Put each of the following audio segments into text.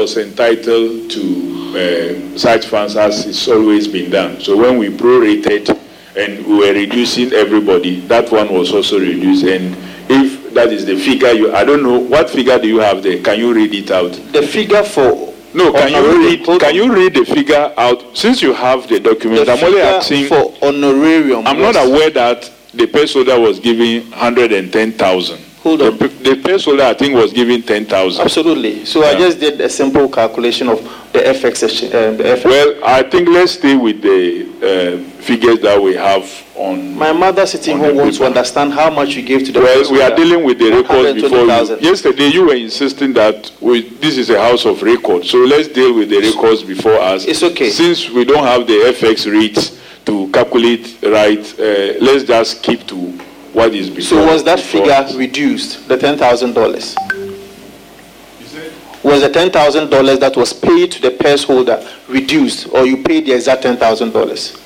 was entitled to uh, such funds as it's always been done. So when we prorated and we were reducing everybody, that one was also reduced. And if that is the figure you, I don't know, what figure do you have there? Can you read it out? The figure for No, can you honorarium- read, hold can on. you read the figure out? Since you have the document, The I'm only figure asking. for honorarium. I'm not was- aware that the purse holder was giving 110,000. Hold on. The, the purse holder, I think, was giving 10,000. Absolutely. So I Yeah. just did a simple calculation of the FX, the FX. Well, I think let's stay with the figures that we have on. My mother sitting on home the wants to paper. understand how much you gave to the Well, purse we are holder. dealing with the records before you. 120,000. Yesterday, you were insisting that this is a house of records, so let's deal with the records before us. It's okay. Since we don't have the FX rates to calculate right, let's just keep to what is before. So was that before figure us. reduced, the $10,000? Was the $10,000 that was paid to the purse holder reduced, or you paid the exact $10,000?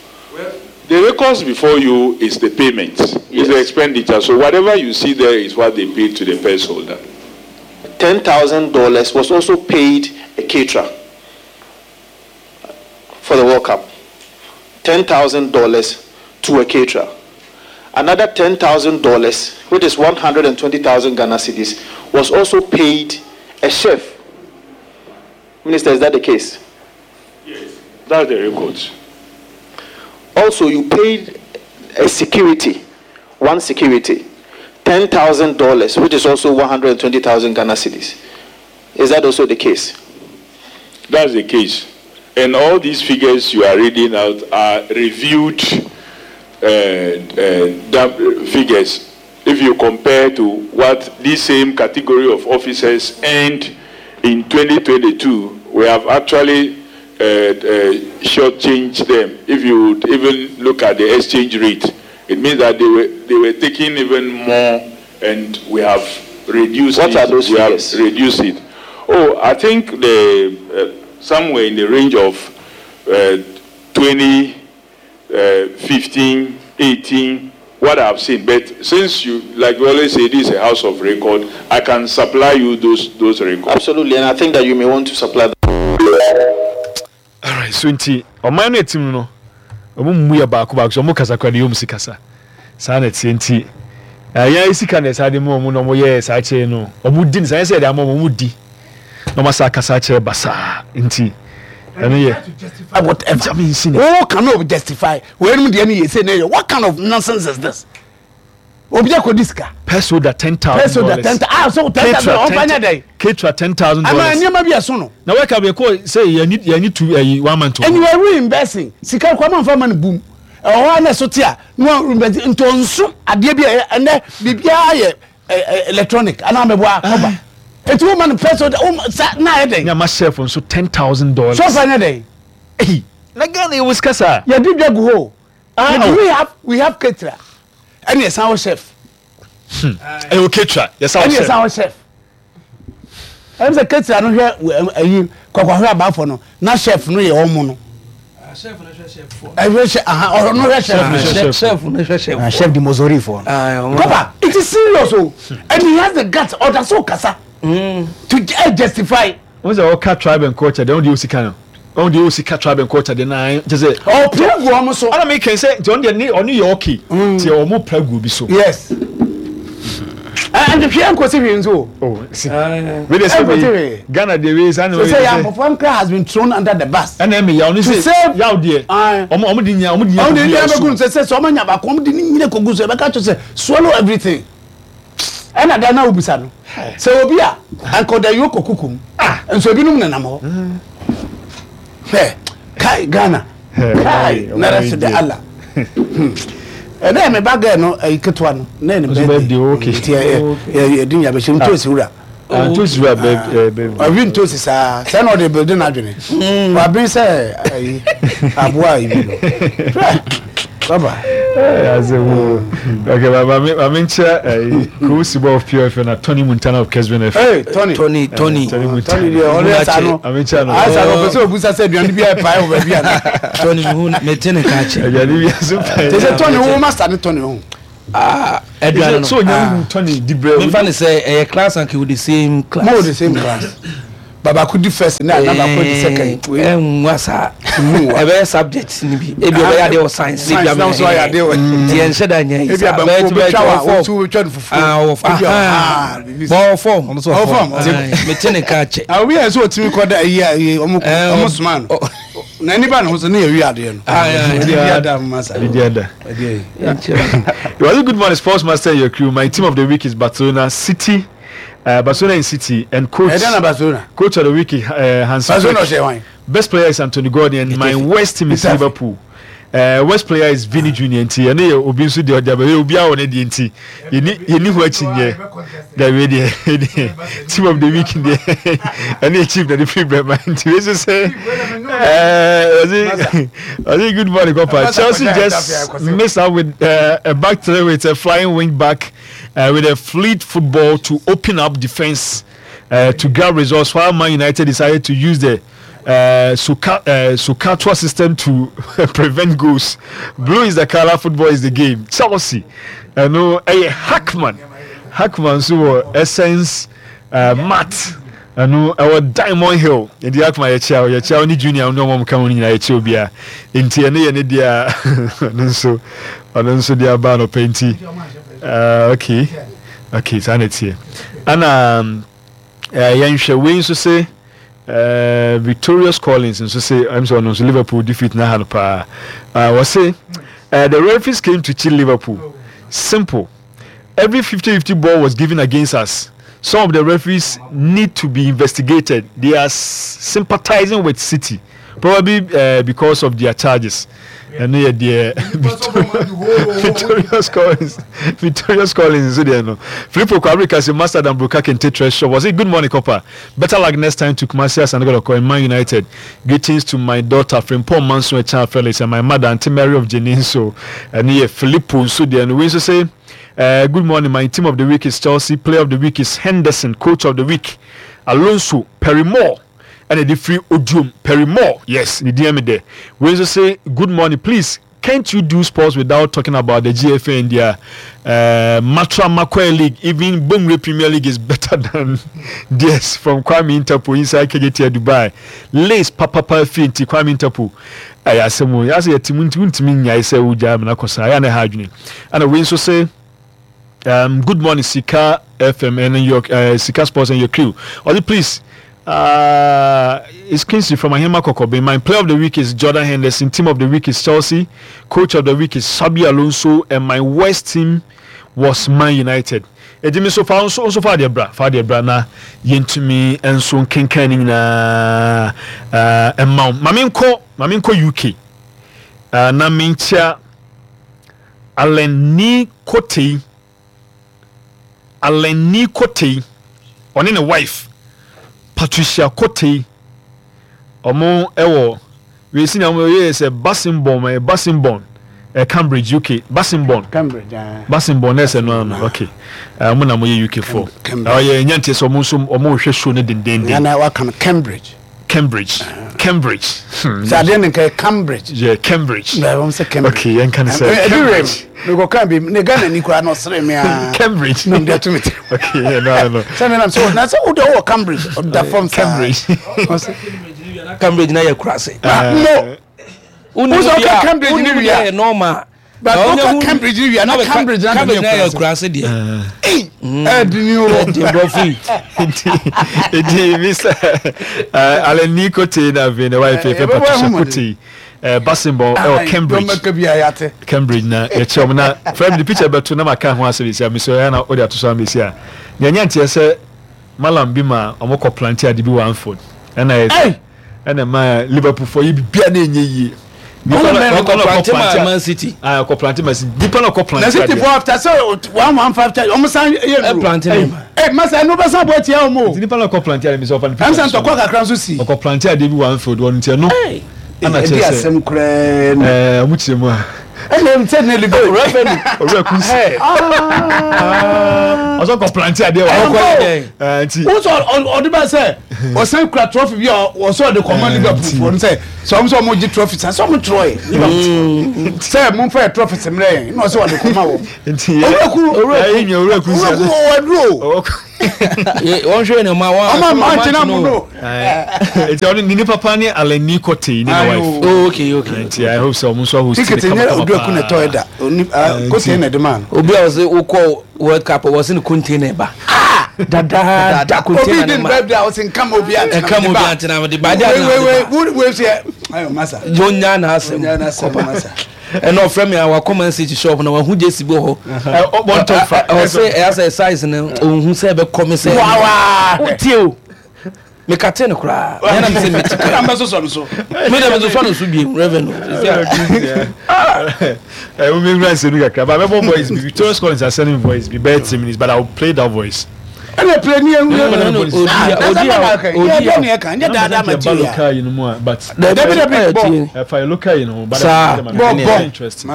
The records before you is the payments, is the Yes. expenditure. So whatever you see there is what they paid to the purse holder. $10,000 was also paid a caterer for the World Cup. $10,000 to a caterer. Another $10,000, which is 120,000 Ghana cedis, was also paid a chef. Minister, is that the case? Yes. That's the records. Also, you paid a security, one security, $10,000, which is also 120,000 Ghana cedis. Is that also the case? That's the case. And all these figures you are reading out are reviewed figures. If you compare to what this same category of officers earned in 2022, we have actually shortchanged them. If you would even look at the exchange rate, it means that they were taking even more, and we have reduced What it. are those We have figures? reduced it. Oh, I think the somewhere in the range of 20, 15, 18, what I've seen. But since you, like we always say, this is a house of record, I can supply you those records. Absolutely, and I think that you may want to supply them. All right, so nti ɔman no etim no ɔmo mu yɛ baako baako so ɔmo kasa kora de yɛ ɔmo si kasa saa na ɛteɛ nti ɛyɛ sika na ɛsa de mu ɔmo na ɔmo yɛ saa kyerɛ no ɔmo di no saa yɛ sɛ ɛde ama ɔmo ɔmo di na ɔmo asa akasa akyerɛ basaa nti ɛno yɛ whatever. I mean, see, Wo cannot justify. Wei nom deɛ no yɛ sei na yɛ. What kind of nonsense is this? Obi akɔdi sika. Purse holder $10,000. Purse holder ten ah so 10,000 ɔmfa nyɛ dɛn? Ketra $10,000. Ama nneɛma bi ɛso no. Na wɛka bɛ kɔ sɛ yɛni tu ɛyi 1 month. And you are reimbursing. Sika kɔ ama nfa ma no boom. Ɛwɔ hɔ a na ɛso te a na wɔn reimburse nti ɔnso adeɛ bi a ɛyɛ ɛnɛ biribiara yɛ electronic anaa mɛboa kɔba. Eti wo ma no purse holder wo ma sa na ayɛ dɛn? Nyama chef nso $10,000. So ɔfa nyɛ dɛn? Eyi na Ghana yɛ wɔ sika saa. Yɛdi dwa gu hɔ o. Ah, But oh. we have caterer. Ɛne yɛsan wɔ chef. Ɛyɛ o caterer, yɛsan wɔ Ɛne chef. yɛsan wɔ chef. Ɛne sɛ caterer no hwɛ ɛyi kɔkɔhwɛ abaafo no na chef no yɛ ɔmo no. Chef no hwɛ chef fo. Ɛhwɛ chef, aha, ɔno hwɛ chef. Chef no hwɛ chef. Chef no hwɛ chef. Ah, chef di Mozori fo. Ah, ɔmo. Papa, it is serious o. And he has the guts. Ɔda so kasa. To justify. Wọ́n sɛ ɔka tribe and culture deɛ ɔno deɛ ɔsi ka no. Ɔno deɛ ɔsi ka tribe and culture deɛ na kyɛ sɛ. Ɔpere gu ɔmo so. Ɔna mi kɛn sɛ nti ɔno deɛ ne ɔno yɛ okay. Nti ɔmo pere gu obi so. Yes. And hwɛ nkosi hwee nso o. Oh, si. Wei de sɛ Nkosi wei hwee. Ghana deɛ wei saa na So wei sɛ sɛ. Yampofo nkra has been thrown under the bus. Ɛna ɛmi yaw ne To sɛ save. yaw deɛ. Aye. Ɔmo ɔmo de nya ɔmo de nya Ɔmo de kogu nya yaw bɛgu so. no sɛ sɛ sɛ ɔmo nya baako ɔmo de ne nyina kogu so ɛbɛka kyerɛ sɛ swallow everything. Ɛna da na obisa no sɛ obi a anka ɔda yio kɔ kukum nso ebinom nenam hɔ. Hwɛ kai Ghana kai na rest de Allah. Ɛnɛ yɛ me ba girl no ɛyi ketewa no na yɛ ne Ɔso birthday. birthday, okay. Nti yɛ yɛ di nya bɛhyɛ ntosi wura. Ah, ntosi wura bɛ Ɔwi ntosi saa sɛ na ɔde building n'adwene. Wabene sɛ ɛyi aboa yi bi no. Hwɛ baba. Ase wo. Okay, ma me nkyɛ Kosi Bɔ of Pure FM na Tony Montana of Kesben FM. Hey Tony. Tony, Tony. Tony Montana. Tony deɛ ɔno yɛ saa no. Ame nkyɛ no. Ayɛ saa no ɔpɛ sɛ obusa sɛ aduane bi a ɛpae wɔ baabi ana. Tony mehu mete ne ka kyɛ. Aduane bi aso pae. Te sɛ Tony wo master ne Tony ho. Ah, aduane no. So onya hu Tony di brɛ. Memfa ne sɛ ɛyɛ class anka with the same class. Mo wɔ the same class. Baako di first na na baako di second. Ɛnwa saa. Ɛbɛyɛ subject ni bi. Ebi ɔbɛyɛ adeɛ wɔ science. Science na nso ayɛ adeɛ wɔ. Nti yɛn nhyɛ da nyɛ yi saa. Ebi abanku obi twa wa wotu obi twa no fufuo. Ɔwɔ fam. Ɔwɔ fam. Ɔwɔ fam. Mete ne ka kyɛ. Obi yɛ sɛ otumi kɔ da ayi ayi ɔmo ɔmo soma no. Na nipa ne ho so ne yɛ wi adeɛ no. Ɛdi ada mma sa. Ɛdi ada. It was a good morning, sports master and your crew. My team of the week is Barcelona City. Barcelona and City and coach. Ɛdɛn na Barcelona? Coach of the week Hansi Barcelona ɔhyɛ wan? Best player is Anthony Gordon and my worst team is Liverpool. Worst player is Vini Junior nti ɛno yɛ obi nso deɛ ɔde abɛyɛ obi a wɔ ne deɛ nti yɛni yɛni ho akyi nyɛ dɛbi deɛ deɛ team of the week deɛ ɛne yɛ chief na de firi brɛ ma nti wei nso sɛ ɛɛ ɔsi ɔsi good morning kɔpa Chelsea just miss out with a back three with a flying wing back. With a fleet football to open up defense to grab results while Man United decided to use the Soka, SOHCAHTOA system to prevent goals. Blue is the color, football is the game. Chelsea, ɛno ɛyɛ Hackman. Hackman nso wɔ Essence Mat. Ɛno ɛwɔ Diamond Hill. Nti Hackman yɛkyia wo, yɛkyia wo ne Junior ne ɔmo ka ho no nyinaa yɛkyia obiara. Nti ɛno yɛ ne deɛ a ɔno nso ɔno nso de aba anɔpa nti. Okay, okay, saa na ɛteɛ. Ɛna yɛnhwɛ wei nso se Victorious Collins nso se ɛm sɛ ɔno nso Liverpool defeat na ha no paa. Wɔse the referees came to cheat Liverpool. Simple. Every 50-50 ball was given against us. Some of the referees need to be investigated. They are sympathizing with City, probably because of their charges. Ɛno yɛ deɛ Victorious Collins Victorious Collins nso deɛ no. Filippo Kwabere Kasi Master Dan Broka Kente Treasure Shop wɔse good morning Copper. Better luck next time to Kumasi Asante Kotoko and Man United. Greetings to my daughter Frimpong Manso Echan Felix and my mother Auntie Mary of Jeninso. Ɛno yɛ Filippo nso deɛ no. Wei nso se good morning my team of the week is Chelsea, player of the week is Henderson, coach of the week Alonso Perry Moore ɛna ɛde firi Odiom Perry Moore yes ne din ɛmi dɛ. Wei nso se good morning please can't you do sports without talking about the GFA and their Matra Makoe League even Bongre Premier League is better than theirs from Kwame Interpol inside KJT Dubai Lace papapa fie nti Kwame Interpol ɛyɛ asɛm o yɛasɛ yɛte mu nti wontumi nnyae sɛ wogyaa amena kɔ saa ɛyɛ a na ɛha adwene ɛna wei nso se Um, good morning, Sika FM and your Sika Sports and your crew. Oli, please. It's Kingsley from Ahema Kokobe. My player of the week is Jordan Henderson. Team of the week is Chelsea. Coach of the week is Xabi Alonso. And my worst team was Man United. Edi mi so fa nso nso fa deɛ bra fa deɛ bra na yɛntumi nso nkenkan ne nyinaa ɛma wo. Maame nkɔ maame nkɔ UK na menkyia Allen Nii Kotei, Allen Nii Kotei, ɔne ne wife Patricia Kotei, ɔmo ɛwɔ wei si na ɔmo yɛ sɛ Basinborn, ɛyɛ Basinborn, ɛ Cambridge, UK, Basinborn, Cambridge, ah. Basinborn na ɛsɛ no ano, okay, ɔmo na ɔmo yɛ UK fo, ɔyɛ nya nteɛ sɛ ɔmo nso ɔmo hwɛ show no dendenden. Nana waka no Cambridge. Cambridge Cambridge hmm. Sɛ adeɛ no nka yɛ Cambridge. Yeah, Cambridge. Na wɔn sɛ Cambridge. Okay, yɛn ka ne sɛ Cambridge. Mekɔ kan bi ne Ghana ni koraa na ɔsere mi aa. Cambridge. Na ɔde ato mi ti. Okay, yeah, no, no. Sɛ mi nam sɛ na sɛ o de ɔwɔ Cambridge ɔda fam saa. Cambridge. Cambridge na yɛ kurase. Mo. Wosɔ ɔka Cambridge ni wia. Yɛ normal. But woka Cambridge ni wia na Cambridge na Cambridge na yɛ kurase deɛ. Ɛdi ni o. Ɛdi brɔfo yi. Nti nti Mr. Allen Kote na afei na wife fɛ Patricia Kote Basinball ɛwɔ Cambridge. Cambridge na yɛkyerɛ wɔn na fɛn mi de picture bɛto na ma ka ho asɛm esi a mesɛ ɛyɛ na ɔde ato so ama esi a nea nya nteɛ sɛ malam bi ma wɔn kɔ plante ade bi wɔ Anfield ɛna yɛ Ɛna ɛma Liverpool fo yi bibia na ɛnyɛ yie. Nipa na ɔkɔ plante ma Man City. Ah, ɔkɔ plante Man City. Nipa na ɔkɔ plante. Na City fo after sɛ 115 charge ɔmo san yɛ duro. Plante ne ma. Ɛ masa ɛnu bɛ san bɔ etia ɔmo o. Nti nipa na ɔkɔ plante ade mi sɛ ɔfa ne picture. Ɛnsa ntɔkwa kakra nso si. Ɔkɔ plante ade bi wɔ Anfield wɔ nti ɛno. Ɛna kyerɛ sɛ. Ɛdi asɛm koraa ni. Ɛɛ ɔmo kyerɛ mu a. Ɛna ɛmu sɛ ne Liverpool referee. Owura Kunsi. Ɔsɔ kɔ plante adeɛ wɔ. Ɔkɔ yɛ dɛ. Nti. Wosɔ ɔde bɛ sɛ ɔsan kura trophy bi a ɔsɔ ɔde kɔma Liverpool foɔ no sɛ sɛ ɔmo sɛ ɔmo gye trophy sa sɛ ɔmo twerɛ yɛ Liverpool sɛ mo nfa yɛ trophy sɛ mmerɛ yɛn na ɔsɛ ɔde kɔma wɔn. Nti Owura Kuru owura Kunsi. Owura Kuru ɔwɔ aduro. Wɔn hwɛ ne ɔma wɔn ɔma ɔma nkyɛn mu no. Nti ɔno ne nipa pa ne Alani Kotei ne ne wife. Oh okay okay. Nti I hope sɛ ɔmo nso ahost ne kama kama paa. Ticket nyɛ obi aku na ɛtɔ ɛda. Oni Kotei na ɛde maa no. Obi a ɔsɛ wokɔ World Cup wɔsɛ ne container ba. Dadaada container ne ma. Obi di ne birthday a ɔsɛ nkama obi antena. Nkama obi antena de ba. Wei wei wei wei sɛ ayo masa. Yonya na asɛm. Yonya na asɛm masa. Ɛna ɔfrɛ me a wakɔ Man City shop na wahu jersey bi wɔ hɔ. Ɔsɛ ɛyɛ sɛ size no ɔnhu sɛ ɛbɛkɔ me sɛ. Wotie o. Mekate no koraa. Ɛna me sɛ meti kra. Ɛna mɛsosɔ no so. Me na mesosɔ no so biem revenue. Ɛwɔ mi nwura nsɛm kakra but mɛbɔ voice bi Victorious Collins are sending voice bi bɛyɛ 10 minutes but I will play that voice. Ɛna play ni ewu ewu. Odi odi odi ɛka nyɛ daadaa material. Local yi no mu a but. Dabi dabi bɔ. Ɛfa yɛ local yi no ho but. Saa bɔ bɔ. Interesting.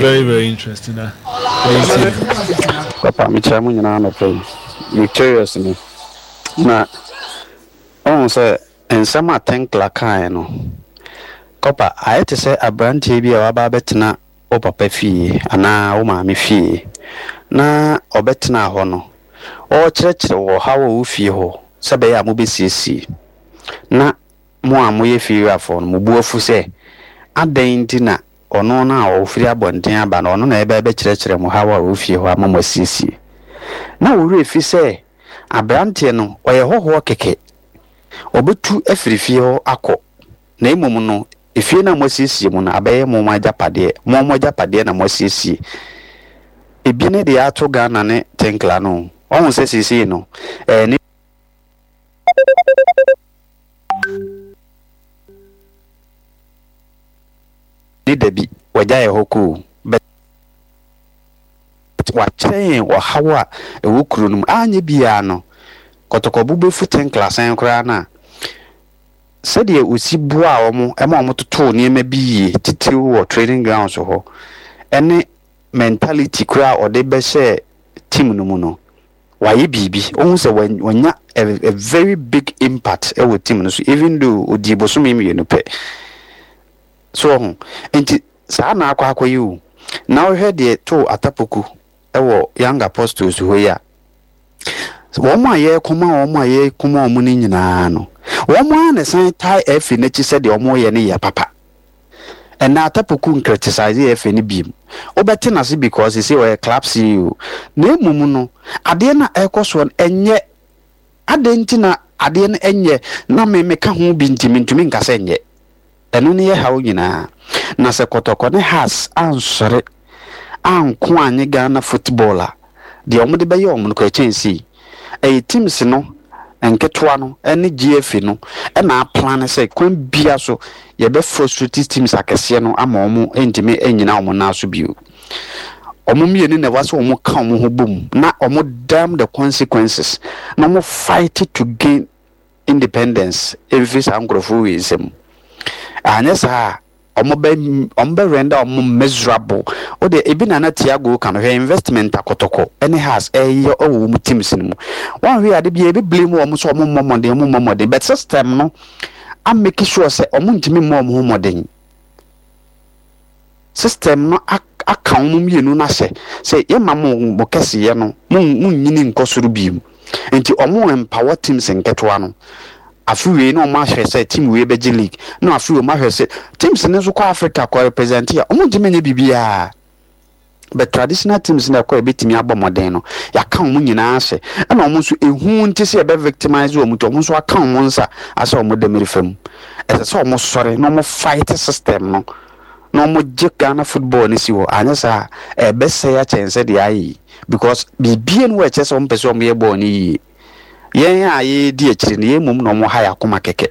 Very very interesting na. Papa mekyia mo nyinaa anɔpa yi. Victorious ni. Na wohu sɛ nsɛm a Tinkler kaeɛ no, Copper, ayɛ te sɛ aberanteɛ bi a waba abɛtena wo papa fie anaa wo maame fie, na ɔbɛtenaa hɔ no, ɔrekyerɛkyerɛ wo ɔhaw a ɛwɔ fie hɔ sɛ ɛbɛyɛ a mobɛsiesie. Na mo a moyɛ fiewurafoɔ no, mo bo afu sɛ, adɛn nti na ɔno no a ɔfiri abɔnten aba no, ɔno na ɛreba abɛkyerɛkyerɛ mo haw a ɛwɔ fie hɔ ama moasiesie. Na wo werɛ fi sɛ aberanteɛ no, ɔyɛ hɔhoɔ kɛkɛ. Ɔbɛtu afiri fie hɔ akɔ, na mmom no, efie no a moasiesie mu no abɛyɛ mo mo agyapadeɛ. Mo mo agyapadeɛ na moasiesie. Ebi ne deɛ ato Ghana ne Tinkla no. Wahu sɛ seesei no, ɛɛ ne. Ne dabi, wagya yɛ hɔ kɔ o, but wakyerɛ yɛn ɔhaw a ɛwɔ kuro no mu. Anyɛ biara no, kɔtɔkɔbo bɛfu Tinkla sɛn koraa no a, sɛdeɛ ɔsi boaa wɔn ma wɔtotoo nneɛma bi yie, titiriw wɔ training grounds hɔ, ne mentality koraa a ɔde bɛhyɛɛ team no mu no, wayɛ biribi. Wohu sɛ wanya a very big impact wɔ team no so even though ɔdii bosome mmienu pɛ. So wahu? Nti saa na akɔ akɔyɛ o. Na wohwɛ deɛ too Atapoku wɔ Young Apostles hɔ yi a, wɔn a yɛrekoma wɔn a yɛrekoma wɔn no nyinaa no, wɔn ara na ɛsan tae FA no akyi sɛ deɛ wɔreyɛ no yɛ papa. Ɛnna Atapoku nkriticize FA no biem. Wobɛte n'ase because sɛ ɔyɛ club CEO. Na mmom no, adeɛ no a ɛrekɔ soɔ no, ɛnyɛ. Adɛn nti na adeɛ no nyɛ na me meka ho bi nti mentumi nka sɛ nyɛ? Ɛno ne yɛ haw nyinaa. Na sɛ Kɔtɔkɔ ne Hearts ansɔre anko annye Ghana football a, deɛ wɔde bɛyɛ wɔn no koraa ɛkyɛn sei. Ɛyɛ teams no nketewa no ne GFA no na aplane sɛ kwan biara so yɛbɛ frustrate teams akɛseɛ no ama wɔn ntumi nnyina wɔn nan so bio. Wɔn mmienu na ɛwɔ sɛ wɔn ka wɔn ho bom na wɔn damn the consequences na wɔn fight to gain independence mfiri saa nkurɔfoɔ wei nsam. Anyɛ saa a, wɔn bɛ wɔn bɛ render wɔn miserable. O deɛ ebi na na Thiago ka no hwɛ investment akɔtɔkɔ ɛne Hearts ɛyɛ ɛwɔ wɔn teams no mu. Wɔn hwɛ ade bi ebi blame wɔn sɛ wɔn mmɔ mmɔden wɔn mmɔ mmɔden but system no a make sure sɛ wɔn ntumi mmɔ wɔn ho mmɔden. System no aka wɔn mmienu no ahyɛ sɛ yɛmma mo mo kɛseyɛ no mo monnyini nkɔ soro bio. Nti wɔn empower teams nketewa no. Afe wei na wɔn ahwɛ sɛ team wei bɛgye league na afe wei wɔn ahwɛ sɛ teams no nso kɔ Africa kɔ represent a wɔn ntumi nyɛ biribiara. But traditional teams na ɛkɔ a ɛbɛtumi abɔ mmɔden no yɛaka wɔn nyinaa ahyɛ ɛna wɔn nso ehu nti sɛ yɛbɛ victimize wɔn nti wɔn nso aka wɔn nsa asɛ wɔn dɛmiri fam. Ɛsɛ sɛ wɔn sɔre na wɔn fight system no. na ɔmo gye Ghana football no si hɔ anyɛ saa a ɛbɛsɛe akyɛn sɛ deɛ ayɛ yi because biribiara ni hɔ a ɛkyerɛ sɛ ɔmo pɛ sɛ ɔmo yɛ bɔɔl no yie. Yɛn a yɛredi akyire no yɛn mmom na ɔmo ha yɛn akoma kɛkɛ.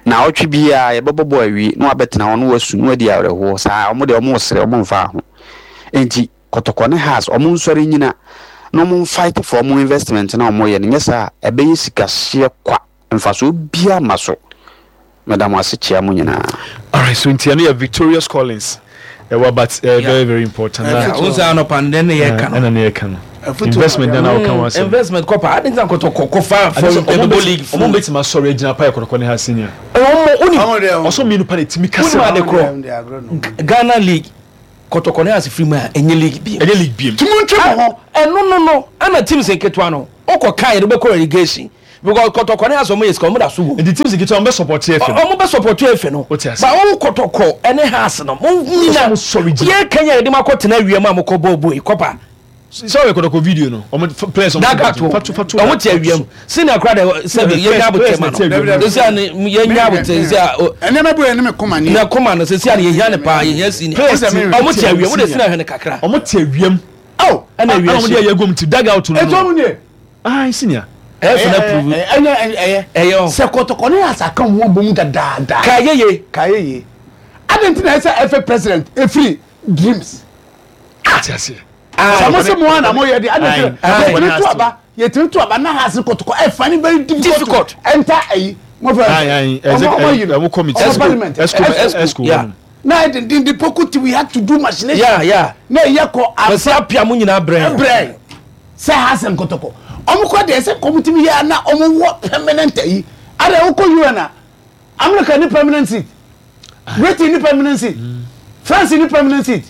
Naawɔtwe biara yɛbɛbɔ bɔɔl awie na wabɛtena hɔ na wasu na wadi awerɛhoɔ saa ɔmo deɛ ɔmo resere ɔmo mfaa ho. Enti Kɔtɔkɔ ne Hearts ɔmo nsɔre nnyina na ɔmo nfight for ɔmo investment no a ɔmo yɛ no nyɛ saa a ɛbɛyɛ sika hyeɛ kwa mfasoɔ biara mma so. Meda mo ase kyea mo nyinaa. Alright, so nti ɛno yɛ Victorious Collins ɛwɔ but ɛyɛ very very important. Na o sɛ anɔpa no dɛn na yɛ ka no. Ɛna ne yɛ ka no. Investment dɛn na ɔka ho asɛm. Investment kɔpa adi ntina kɔtɔ kɔ fa fɔ ɛbɛbɔ league fo. Ɔmo bɛtumi asɔre agyina pa yɛ kɔtɔkɔ ne ha senior. Ɔmo onim. Ɔsɔ mmienu pa na etimi kasa. Onim ade korɔ. Ghana league. Kɔtɔkɔ ne Hearts firi mu a, ɛnyɛ league bio. Ɛnyɛ league bio. Nti montwe mo ho. Ɛno no no, ɛna teams nketewa no, wokɔ kan yɛde wobɛkɔ relegation. Because Kɔtɔkɔ ne Hearts ɔmo yɛ sika, ɔmo da so wɔ mu. Nti teams nketewa ɔmo bɛ support FA no. Ɔmo bɛ support FA no. Wote ase. Ba wo Kɔtɔkɔ ɛne Hearts no, mo nyina, yɛ kan yɛ yɛde mo akɔ tena awia mu a mokɔ bɔɔl bɔ yi, kɔpa. Sɛ ɔyɛ kɔtɔkɔ video no, ɔmo players ɔmo Daga to, ɔmo te awia mu. Senior kora de sɛbi yɛ nya abotɛ ma no. Sisi a yɛ nya abotɛ sisi a. Ɛnneɛma bi wɔ yɛ ne me koma ni. Ne koma no sisi a yɛ hia ne paa yɛ hia senior. Ɔmo te awia mu de senior hwɛ ne kakra. Ɔmo te awia mu. Aw ɛna awia hyɛ. Ɛna ɔmo de ayɛ gom ti daga out no. Etu ɔmo nie. Ayi senior. Ɛyɛ fɛ na prove. Ɛyɛ ɛyɛ. Ɛyɛ ɔ. Sɛ kɔtɔkɔ ne asaka wɔn bɔ mu dadaada. Ka yɛ ye. Ka yɛ ye. Adi nti na ɛsɛ ɛfɛ president efiri dreams. Ati aseɛ. Sɛ mo se mo a na mo yɛ de adi nti yɛtumi to aba yɛtumi to aba na ha se kɔtɔkɔ ɛfa ne very difficult to enter ayi mo fɛ ɔmo ɔmo yi no ɔmo parliament ɛsco na yɛ dendenden poku ti we had to do machination yeah yeah na yɛ kɔ aba apia mo nyinaa brɛ brɛ sɛ ha se nkɔtɔkɔ ɔmo kɔ deɛ sɛ kɔm tumi yɛ na ɔmo wɔ permanent ayi ada wokɔ UN a America ni permanent seat Britain ni permanent seat France ni permanent seat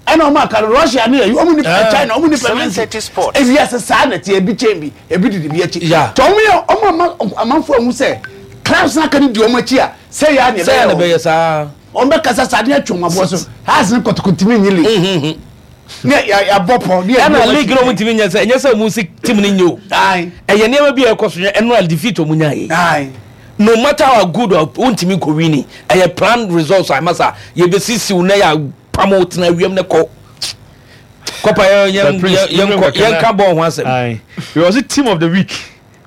ɛna ɔmo aka no Russia ne ɛyi ɔmo ni ah. China ɔmo ni permanent seat efi ase saa na ti ebi kyɛn bi ebi didi bi akyi tɔ ɔmo yɛ ɔmo ama amanfo ɛho sɛ clubs n'aka ne di ɔmo akyi a sɛ yɛ ani ɛbɛyɛ wɔn ɔmo bɛ kasa saa adeɛ atwa ɔmo aboɔ so house ne kɔtɔkɔtumi nyi league. Ne yɛabɔ pɔ ne ɛna league no ɔmo ntumi nyɛ sɛ ɛnyɛ sɛ ɔmo si team no nyɛ o ɛyɛ nneɛma bi a ɛkɔ so yɛ ɛno a defeat ɔmo nya yɛ no matter how good or wontumi nkɔ wini ɛyɛ plan results a ɛma sa yɛbɛsisiw na yɛ apam wo tena wiem ne kɔ kɔpa yɛn yɛn yɛn yɛn ka bɔɔl ho asɛm. It was the team of the week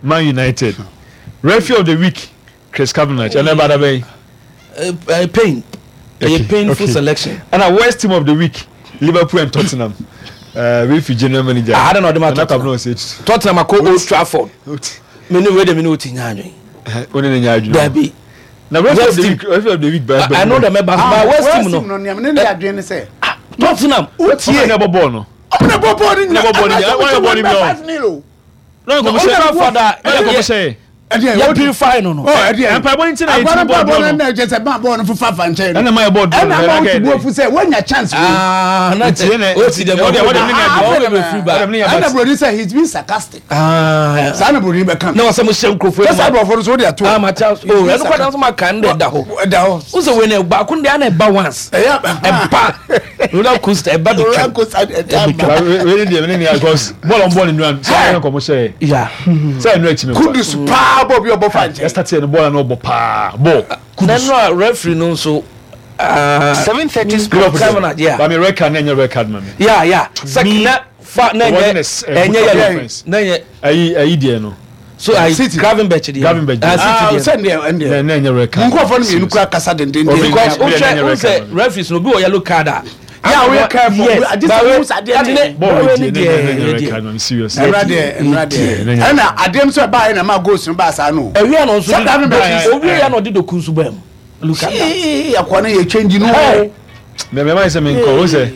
Man United referee of the week Chris Kavanagh ɛnna ɛba da bɛn. Pain ɛyɛ painful selection. Ɛnna worst team of the week Liverpool and Tottenham wei fi general manager. Ah, na ɔde ma Tottenham. Tottenham akɔ Old Trafford. Me ne wei de me ne o ti nya adwene. O ne ne nya adwene. Dabi. Na referee of the week referee of the week baa baa. Ɛno de mɛ ba ba worst team no. Worst team no nea me ne ne adwene ne sɛ. Tottenham. O tie. Ɔmo na ɛbɔ bɔɔl no. Ɔmo na ɛbɔ bɔɔl no nyina. Ɔmo na ɛbɔ bɔɔl no nyina. Ɔmo na ɛbɔ bɔɔl no nyina. Old Trafford a yɛ purify no no. Mpaebɔ nti na yɛtumi bɔɔ draw no. Ɛna kyɛ sɛ maa bɔɔl no fofa fa nkyɛn no. Ɛna maa yɛ bɔɔ draw no. Ɛna maa wotu bu afu sɛ woanya chance wei. Ah, na kyɛ o ti dɛ mɔ ɔde ne nya Ɛna buroni sɛ he's been sarcastic. Ah. Saa na buroni bɛka. Na wɔsɛ mo hyɛ nkurɔfoɔ Sɛ saa aborɔfo no so wode ato. Ah, ma kyɛ o ɛno kɔ dan so ma kan de da hɔ. Ɛda hɔ. Wo sɛ wei na baako de ana ɛba once. Ɛyɛ ɛba roller coaster ɛba bi twam. Roller coaster ɛba ba. Wei ne deɛ ne nea because bɔɔl ɔmo bɔɔl ne nua sɛ ɔmo nkɔmɔ hyɛ yɛ. Sɛ ɛnu akyi mi. Kudus paa bɔɔl bi ɔbɔ fa nkyɛn. Yɛ start yɛ no bɔɔl na ɔbɔ paa bɔɔl. Kudus. Nanu a referee no nso. 7:30 sports. Cameron yeah. Ba mi red card na ɛnyɛ red card ma mi. Yeah yeah. Sɛ na fa na ɛnyɛ ɛnyɛ yellow na ɛnyɛ. Ayi ayi deɛ no. So ayi Gravenberch deɛ. Gravenberch deɛ. Ah City deɛ. Sɛ deɛ ɛndeɛ. Na ɛnyɛ red card. Nkurɔfoɔ no mmienu kura kasa dendenden. Because o hwɛ o sɛ referees no obi wɔ yellow card a. Yà wò careful. Yes. Adi sɛ mo sa adeɛ ne. Bɔɔl deɛ na ɛnyɛ red card ma mi serious. Ɛnura deɛ ɛnura deɛ. Ɛna adeɛ nso ɛbaa yɛ na ma goals no baa saa no. Ewia na nso de owie ya na ɔde doku nso baa mu. Look at that. Yee akɔ no yɛ change no. Mɛ mɛ maa sɛ mi nkɔ o sɛ.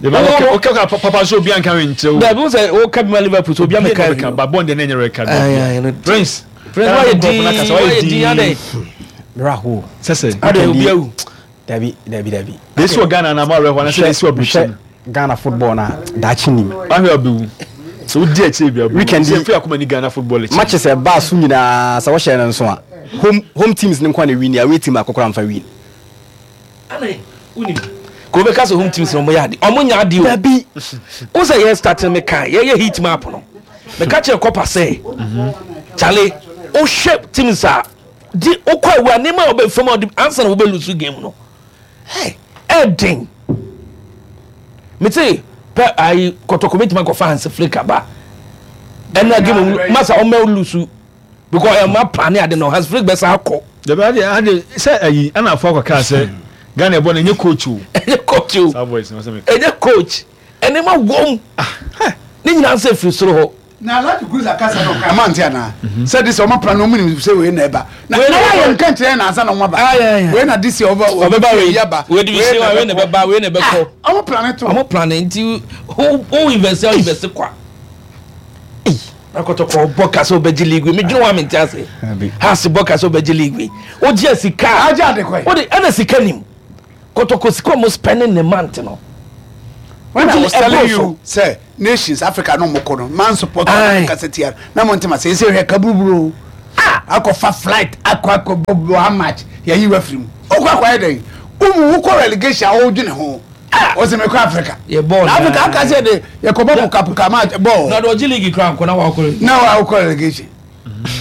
O kɛ ka papa so obi anka mi nkyɛn o. Dabi o sɛ o ka bi ma Liverpool so obi ameka bi. Ba bɔn deɛ ne nyɛ red card. Prince. Prince wayɛ din wayɛ din adɛ. Raho. Sɛsɛ. Adɛ obi awu. Dabi dabi dabi. Desi wɔ Ghana na ama awɛ hɔ anasɛ desi wɔ Britain. Ghana football na daakye nim. Ahwɛ abewu. Sɛ wodi akyire bi abewu. Weekend yi sɛ akoma ni Ghana football akyi. Matches ɛbaa so nyinaa sɛ wɔhyɛ no nso a home home teams no nko na win away team akɔkora mfa win. Ana wonim kò bɛka sɛ home teams na ɔmo yɛ ade ɔmo nya ade o. Dabi. Wo sɛ yɛ start no meka yɛyɛ heat map no meka kyerɛ kɔpa sɛ kyale wohwɛ teams a di wokɔ awu a nneɛma a wɔbɛ fam a wɔde ansa na wɔbɛ lose game no hey ɛden mete pɛ ayi kɔtɔkɔ bɛtumi akɔfa Hansi Flick aba ɛna game mu masa ɔmɛ lose because ɛma plan ne ade no Hansi Flick bɛsa akɔ. Dabi ade ade sɛ ayi ɛna afɔ akɔ kaa sɛ Ghana ɛbɔ no ɛnyɛ coach o. Ɛnyɛ coach o. Saa voice no sɛ meka. Ɛnyɛ coach ɛnneɛma wɔm ne nyinaa nso efiri soro hɔ. Na Alhaji Cruz akasa no ɔka mante anaa sɛ de sɛ ɔma pra no ɔmu nim sɛ wei na ɛba na na yɛ nka nkyerɛ na ansa na ɔma ba wei na de sɛ ɔba ɔbɛba wei yaba wei de wei na wei na ɛbɛba wei na ɛbɛkɔ ɔmo pra ne to ɔmo pra ne nti wo invest wo invest kwa na kɔtɔkɔ bɔ ka sɛ ɔbɛgye league mi dwene wa mi nti ase ha se bɔ ka sɛ ɔbɛgye league mi o gye sika agye ade kɔ o de ɛna sika nim kɔtɔkɔ sika ɔmo spending ne month no. When I was telling you sɛ nations Africa no mo kɔ no man support Africa sɛ tia na mo ntoma sɛ ɛsɛ hwɛ kaburuburo ah akɔfa flight akɔ akɔ bɔ one match yɛyi wa firi mu wokɔ akɔyɛ dɛn womu wokɔ relegation a wodwene ho wɔsɛ mekɔ Africa na Africa aka sɛ de yɛkɔbɔ pukapuka match bɔɔl na de ɔgye league kora nkɔ na wakɔ na wakɔ relegation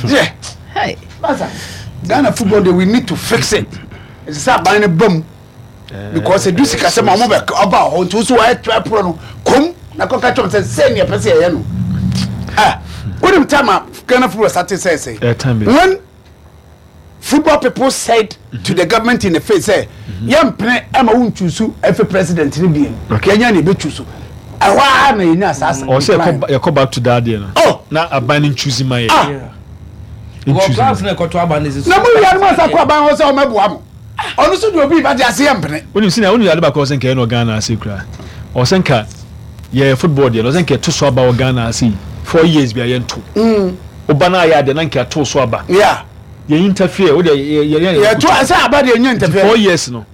yeah hey basa Ghana football de we need to fix it ɛsɛ sɛ aban no ba mu because edu sikasɛm a wɔn bɛ ɔba hɔ nti wosi wɔayɛ twerɛ porɔ no kom na kɔka kyɛm sɛ sɛ nea pɛ sɛ yɛyɛ no ah wonim time a Ghana football started sɛ sɛ when football people said to the government in the face sɛ yɛmpene ɛma wo nchusu ɛfɛ president no biem yɛnya ne yɛbɛchusu ɛhɔ ara na yɛnya saa ɔsɛ yɛkɔ back to that deɛ no oh na aban no nchusi ma yɛ nchusi na mo wia no mo asa kɔ aban hɔ sɛ ɔmɛboa mo Ɔno nso de obi ba de ase yɛ mpene. Wonim sɛnea wonim ade baako a ɔsɛ nka yɛ no wɔ Ghana ase koraa. Ɔsɛ nka yɛ football deɛ no ɔsɛ nka yɛto so aba wɔ Ghana ase yi 4 years bia yɛnto. Woba no ayɛ adeɛ na nka yɛato so aba. Yeah. Yɛn interfere wo deɛ yɛ yɛ yɛ Yɛto sɛ aba deɛ nyɛ interfere. 4 years no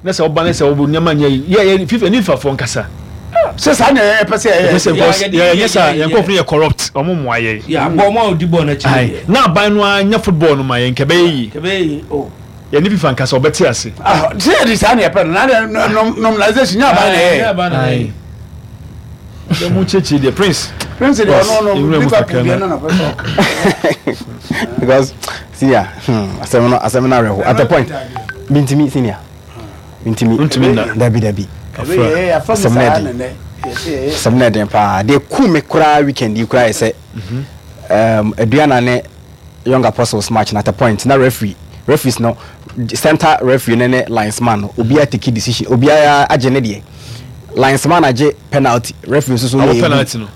na sɛ woba no sɛ wo nneɛma nyɛ yi yɛ yɛ FIFA ne FIFA foɔ nkasa. Sɛ saa na yɛpɛ sɛ yɛyɛ. Yɛpɛ sɛ because yɛ yɛ saa yɛn nkurɔfo no yɛ corrupt wɔn mmoa yɛn. Yeah, bɔ wɔn a wɔdi bɔɔl no akyi. Ayi na aban no ara nyɛ football no ma yɛn nka ɛbɛyɛ yie. Ɛbɛyɛ yie oh. Yɛne FIFA nkasa ɔbɛte ase. Ah, sɛ yɛde saa na yɛpɛ no na deɛ normalization nyɛ aban na ɛyɛ. Nyɛ aban na ɛyɛ. Sɛ mo kyekye deɛ prince. Prince deɛ ɔno no Liverpool deɛ no na pɛ sɛ ɔka. Because senior hmm, asɛm no asɛm no awerɛho at a point mintimi senior mintimi ntumi nna dabi dabi asɛm no ɛden asɛm no ɛden paa deɛ ku me koraa weekend yi koraa yɛ sɛ aduana ne Young Apostles match no at a point na referee referees no center referee no ne linesman no obiara take decision obiara agye ne deɛ linesman agye penalty referee nso so yɛ penalty no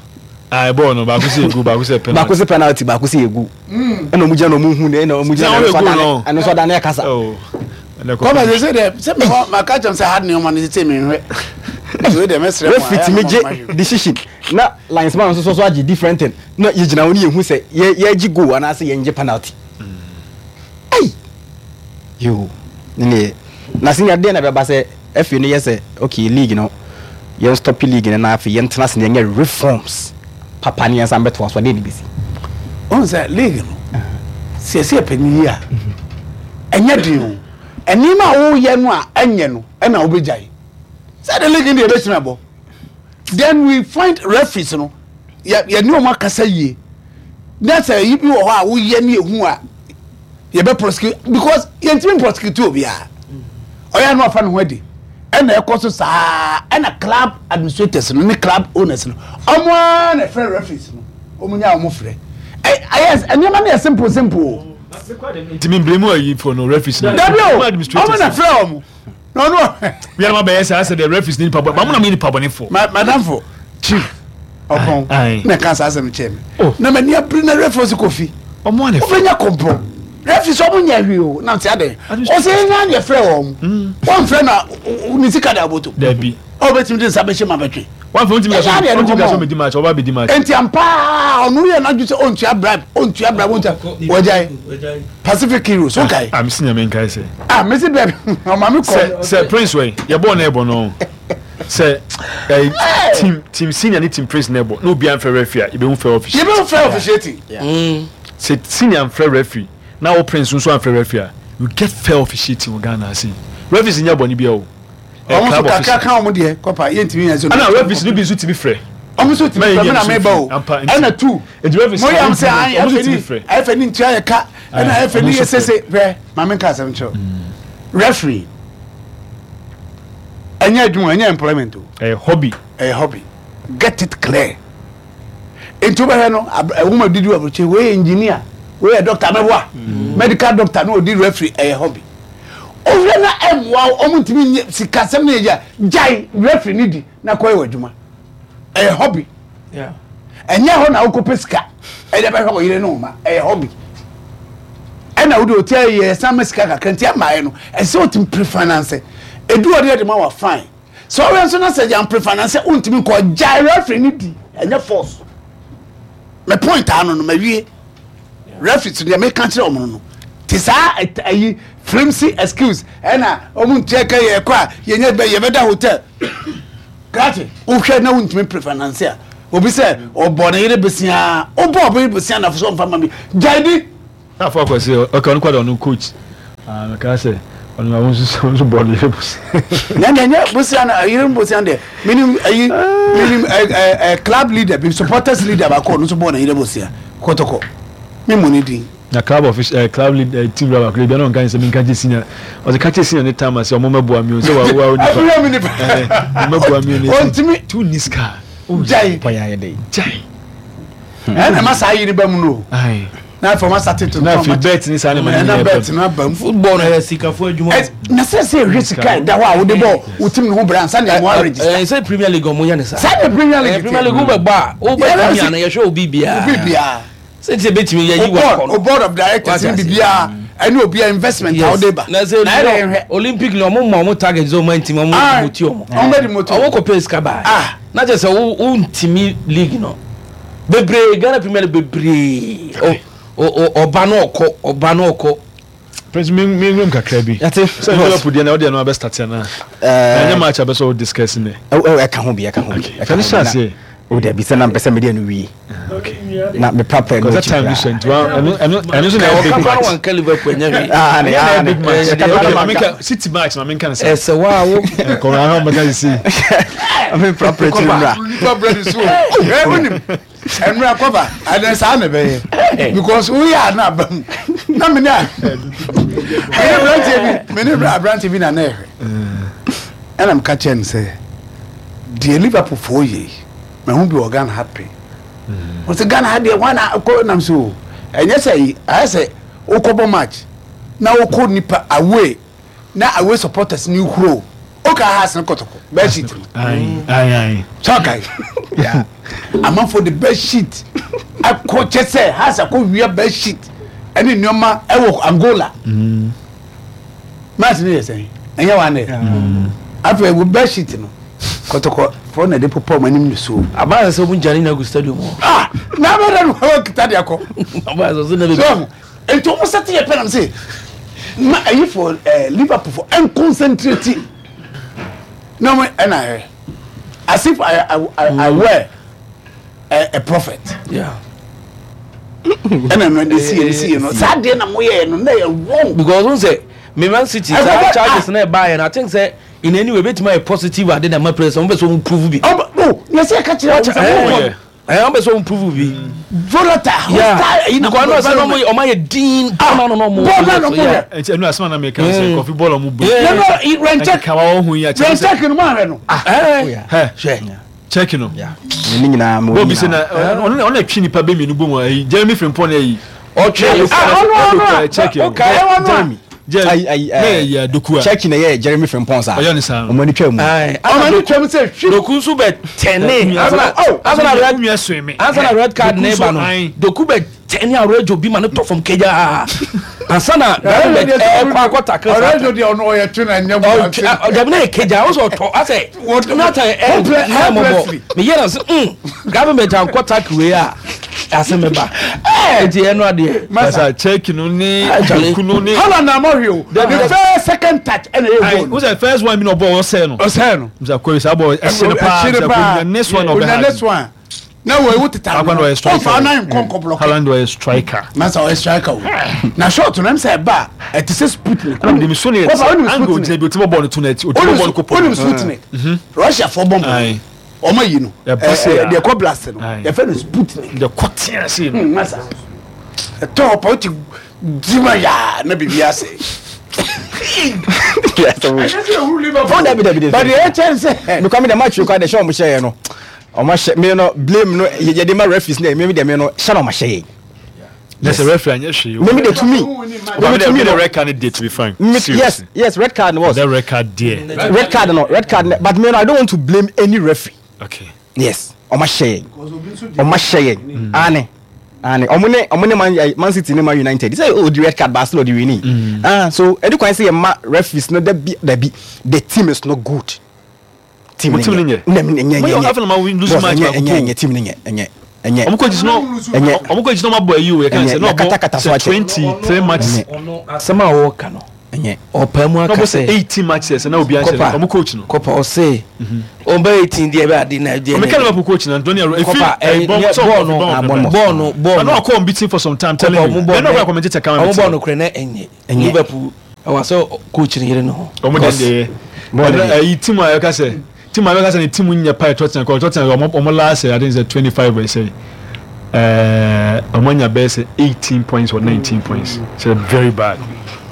ah bɔɔl no baako sɛ egu baako sɛ penalty baako sɛ penalty baako sɛ egu ɛna ɔmo gyina na ɔmo hu na ɔmo gyina na ɛno nso adane ɛno nso adane ɛkasa. Kɔma sɛ sɛ deɛ sɛ mewɔ maka kyɛm sɛ hard nneɛma no sɛ menhwɛ nti wei deɛ mɛsrɛ mo referee tumi gye decision na linesman nso so agye different thing na yɛgyina hɔ ne yɛhu sɛ yɛ yɛgye goal anaasɛ yɛngye penalty ei yoo ne neɛ na senior deɛ na ɛbɛba sɛ afei no yɛ sɛ okay league no yɛn stop league no na afei yɛntena ase na yɛnyɛ reforms papa ne yɛnsan bɛtoa so adeɛ ne bɛsi. Wohu sɛ league no sɛ yɛsɛ yɛpɛ no yie a ɛnyɛ den o nneɛma a woyɛ no a ɛnyɛ no ɛna wobɛgyae sɛ de league no deɛ yɛbɛtumi abɔ then we find referees no yɛ yɛne wɔn akasa yie na sɛ yi bi wɔ hɔ a woyɛ ne ehu a yɛbɛ prosecute because yɛntumi prosecute obiara ɔyɛ ano afa ne ho adi ɛna ɛkɔ so saa ɛna club administrators no ne club owners no wɔn ara na ɛfrɛ referees no wɔn nya wɔn frɛ ɛyɛ nneɛma no yɛ simple simple o. Ntumi mbere mu ayi fo no referees no. Dabi o wɔn na frɛ wɔn. na ɔno wia ma bɛyɛ saa sɛ deɛ referees ne nipa bɔ ba mo na mo yɛ nipa bɔne fo. Madamfo chief ɔpɔn na ɛka saa asɛm kyerɛ me oh. na m'ani abiri na referees kɔ fi ɔmo anɛ wobɛnya kɔmpɔ referees ɔmo nyɛ hwee o na nti adɛn ɔsɛ yɛnya ne yɛfrɛ wɔn hmm. wɔmfrɛ na ne sika de aboto dabi ɔbɛtumi de nsa bɛhyɛ ma bɛtwe wọn fɛ ntumi kaso ntumi kaso mi di match ɔba bi di match. Nti ampa ɔno yɛ n'adwo sɛ ɔntua bribe ɔntua bribe ɔntua wɔgyae Pacific Heroes o kae. Ah mesi nyame nkae sɛ. Ah mesi bɛɛ ɔma mi kɔ. Sɛ sɛ Prince wɛ yɛ bɔɔl na ɛbɔ no sɛ ɛɛ team team senior ne team Prince na ɛbɔ na obi anfɛ referee a yɛbɛhu fɛ officiating. Yɛbɛhu fɛ officiating. Sɛ senior anfrɛ referee na wo Prince nso anfrɛ referee a you get fair officiating wɔ Ghana ase. Referees nyɛ bɔne biara o. Wɔn nso kakra ka wɔn deɛ kɔpa yɛntumi yɛn so. Ɛna referees no bi nso tumi frɛ. Wɔn nso tumi frɛ mi na mi ba o. Ɛna tu. Mo yam sɛ ayi ɛfɛ ni ɛfɛ ni ntua yɛ ka ɛna ɛfɛ ni yɛ sese hwɛ maame nka asɛm kyerɛw. Referee ɛnyɛ adwuma ɛnyɛ employment o. Ɛyɛ hobby. Ɛyɛ hobby get it clear. Nti wobɛhwɛ no ɛwoma didi wɔ aburokyi wei yɛ engineer wei yɛ doctor mɛboa medical doctor na odi referee ɛyɛ hobby. Wohwɛ na ɛmmoa wo, wɔn ntumi nyɛ sikasɛm no yɛ gya gyae referee no di na kɔyɛ w'adwuma. Ɛyɛ hobby. Ɛnyɛ hɔ na wokɔpɛ sika ɛde bɛhwɛ wo yere ne wo mma. Ɛyɛ hobby. Ɛna wode ɔti ayɛ yɛ san ma sika kakra nti ɛmmaeɛ no ɛsɛ sɛ wotumi prefinance. Ɛdu hɔ deɛ de ma wa fine. Sɛ ɔwɛ nso na sɛ yɛn prefinance wontumi nkɔ gyae referee no di ɛnyɛ force. Me point ano no mawie. Referees deɛ meka kyerɛ wɔn no te saa ayi flimsy excuse ɛna wɔn ntua ka yɛ kɔ a yɛnyɛ bɛ yɛbɛda hotel. Krakye, wohwɛ na wontumi prefinance a, obi sɛ ɔbɔ ne yere besia, wobɔ ɔbɔ yere besia na so ɔmfa ma mi. Gyae di. Afɔ akɔ sɛ ɔka ɔno kwada ɔno coach. Ah, meka sɛ ɔno na wɔn nso nso bɔ ne yere bosia. Na na nyɛ bosia na yere bosia deɛ. Minim ayi minim ɛ ɛ ɛ club leader bi supporters leader baako ɔno nso bɔ ne yere bosia. Kɔtɔkɔ. Me mu ne din. Na club official eh, club lead eh, team raba kura bi na ɔnka sɛ menka kyɛ senior ɔsɛ ka kyɛ senior ne time ase ɔmo mɛboa mi o sɛ wa wa onipa ɛfiri mi nipa eh, ɔmo mɛboa mi o ne ɔntumi tu ni sika gyae pɔyɛ ayɛ dɛ gyae ɛna ma saa yiri ba mu no na afei ɔma sa tete na afei bet ne saa ne ma ne nyɛ bet no aba mu football no yɛ sikafo adwuma na sɛ sɛ ɛhwɛ sika ɛda hɔ a wode bɔ wo team no ho bra ansa na ɛmo aregister ɛɛ sɛ Premier League ɔmo yɛ ne saa saa ne Premier League Premier League wobɛbɔ a wobɛ team ano yɛhwɛ obi biara obi biara Sɛ nti ebetumi yɛ yi wa kɔ no. O board of directors ni bibiara ɛne obiara investment a ɔde ba. Na sɛ Na ɛdɛ nhwɛ. Olympic ni ɔmo ma ɔmo target sɛ ɔmo ntumi ɔmo demote ɔmo. Ɔmo bɛ demote. Ɔmo kɔ pɛ sika baa. Ah. Na kyerɛ sɛ wo wo ntumi league no. Bebree Ghana Premier League bebree. Ɔba no ɔkɔ ɔba no ɔkɔ. Prince mi mi nwom kakra bi. Yate. Sɛ Liverpool deɛ na ɔdeɛ no abɛ start ana. Ɛɛ. Ɛnyɛ match abɛ sɛ o discuss ne. Ɛka ho bi ɛka ho bi. Fɛn hyɛ aseɛ. O dabi sɛ na mpɛ sɛ mede ɛno wie. Okay. Na me prapra ɛno akyi koraa. time so nti wa ɛno ɛno ɛno nso na ɛyɛ big match. Wɔn ka Liverpool ɛnyɛ hwee. Ah ne ah ne. Big match. Okay, maame ka City match maame nka ne sa. Ɛsɛ wa wo. Kɔmɛ ahɔn bɛka sisi. Maame prapra akyi mmra. Nipa brɛ ne so. Ɛ wonim ɛnura kɔba ɛnɛ saa na ɛbɛyɛ because woyɛ a na aba mu na mene a mene aberanteɛ bi mene aberanteɛ bi na na ɛhwɛ ɛna meka kyerɛ no sɛ deɛ Liverpool foɔ yɛ yi mahu bi wɔ Ghana ha pɛ wɔsɛ Ghana ha deɛ hwan na kɔ nam so ɛnyɛ sɛ yi ayɛ sɛ wokɔbɔ match na wokɔ nipa away na away supporters ni huro woka ha asene kɔtɔkɔ bed sheet no sɛ ɔkae amanfoɔ de bed sheet akɔ kyɛ sɛ has akɔ wia bed sheet ɛne nneɛma ɛwɔ Angola mm. Match no yɛ sɛn? Ɛnyɛ wa nɛ. Afei wo bed sheet no kɔtɔkɔ fɔ na de popɔ ɔmo anim nisuo. Abaa sɛ ɔmo gya ne na gu stadium hɔ. Ah na abɛ dɛ no wɔn kita de akɔ. Abaa sɛ ɔsɛ na bɛ. So nti ɔmo sɛ te yɛ pɛ nam se ma ayi fo ɛɛ Liverpool fo ɛnconcentrate na ɔmo ɛna yɛ as if I I I, I were a, a prophet. Yeah. ɛna no de sie no sie no saa deɛ na moyɛɛ no na yɛ wrong. Because n sɛ me Man City saa charges na ɛbaa yɛ no I think sɛ in any way ebetumi ayɛ positive ade na ɛma players wɔn bɛ sɛ wɔn prove bi. Ɔba o na ɛsɛ ɛka kyerɛ wɔn sɛ wɔn kɔ. Ɛɛ wɔn bɛ sɛ wɔn prove bi. Volatile hostile ɛyi na because ɛna sɛ wɔn wɔn ayɛ din bɔɔl na wɔn bɔɔl na wɔn yɛ. Ɛnti ɛnu asɛm na meka sɛ kɔfi bɔɔl ɔmo bɔ. Yɛn rɛnkyɛk ɛkeka wa wɔn ho yi akyɛ sɛ. Rɛnkyɛk no mu ahwɛ no. Ɛɛ hwɛ. Check no. Ne nyinaa mo nyinaa. Bɔbi sɛ na ɔno na ɔno twi nipa bɛ mmienu bɔ mu ayi Jeremy Frimpong na ayi. Ɔtwe ɔno ɔno check no. Jeremy. Jeremy ayi ɛɛ yɛ Doku a. Check na yɛ Jeremy Frimpong saa. Ɔyɛ ne saa. Ɔmo ani twa mu. Ɔmo ani twa mu sɛ hwi. Doku nso bɛ tɛne. Ansa na red card ne ba no. Doku bɛ tɛne Aurelio bi ma ne tɔ fam kegyaa. Ansa na Gravenberch ɛkɔ akɔ tackle saa. Aurelio deɛ ɔno ɔyɛ twe na nyɛ mu ase. Dabi na yɛ kegyaa ɔsɛ ɔtɔ asɛ nata ɛ ɛ mɔbɔ meyɛ na sɛ mm Gravenberch ankɔ tackle wei a asɛm bɛba eti ɛno adeɛ. Masa check no ne doku no ne. Haaland na amɔ hwee o the first second touch ɛna ɛyɛ goal. Wosɛ first one bi na ɔbɔ ɔsɛ no. Ɔsɛ no. Msa kɔ saa bɔ ɛhyɛ no paa ɛhyɛ no paa msa kɔ next one ɔbɛ ha. Next one. Na wɔ ewu teta no ɔfa ɔfa anan nkɔ nkɔ blɔk. Haaland ɔyɛ striker. Masa ɔyɛ striker o na shot no ɛm sɛ ɛba a ɛte sɛ Sputnik. Ɛna mede mesu ne Wɔfa wonim angle Sputnik. gyina bi ɔtumi bɔ bɔɔl no to n'akyi ɔtumi bɔ bɔɔl no kɔ pɔ. Wonim Sputnik. Russia fɔ bɔmb no ɔma yi no Ɛba se a. deɛ ɛkɔ blast no Aye. yɛfɛ no Sputnik. Deɛ kɔ tea se no. Masa ɛtɔ hɔ pa wote gyima yaa na biribi asɛe. Oh, dabi dabi dabi. But deɛ ɛkyɛn sɛ. Mekɔ mi de match kɔ de hyɛ ɔmo hyɛ yɛ no. Ɔmo ahyɛ me no blame no yɛ de ma referees na me de me no hyɛ na ɔmo ahyɛ yɛ. Yes. Sɛ referee anyɛ hwee. Me me de to me. Me to me the red card deɛ to be frank. Me, yes yes red card was. The red card deɛ. Red card no red card but me no I don't want to blame any referee. Okay. Yes ɔmo ahyɛ yɛn ɔmo ahyɛ yɛn ane ane ɔmo ne ɔmo ne man eh, man city ne man united sɛ odi red card baasi na ɔdi wini mm. ah so ɛdi kwan sɛ yɛ ma referees no dabi dabi the team is not good team ne nyɛ nyɛ nyɛ nyɛ nyɛ nyɛ nyɛ team ne nyɛ nyɛ ɛnyɛ ɔmo kɔ gyina ɛnyɛ ɔmo kɔ gyina ɔmo abɔ ayi o yɛ kan sɛ na ɔbɔ sɛ 23 matches asɛm a wɔka no. Ɛnyɛ. Ɔpaa mu aka sɛ. 18 matches na obi anhyɛ no. Ɔmo coach no. Kɔpa ɔse. Ɔbɛ 18 deɛ ɛbɛ ade na deɛ. Ɔmo Liverpool coach na Antonio Efi bɔɔl no bɔɔl no bɔɔl no. Ɔno akɔ unbeaten for some time telling you. Ɛna ɔkɔ commentator kan. Ɔmo bɔɔl no korɛ na ɛnyɛ. Liverpool ɛwɔ sɛ coach no yere ne ho. Ɔmo deɛ deɛ yɛ. Ɛyi team a yɛka sɛ team a yɛka sɛ ne team nyɛ pa yɛ Tottenham kɔ Tottenham ɔmo ɔmo last I think sɛ 25 ɛsɛ ɛɛ ɔmo anya bɛyɛ sɛ 18 points or 19 points so very bad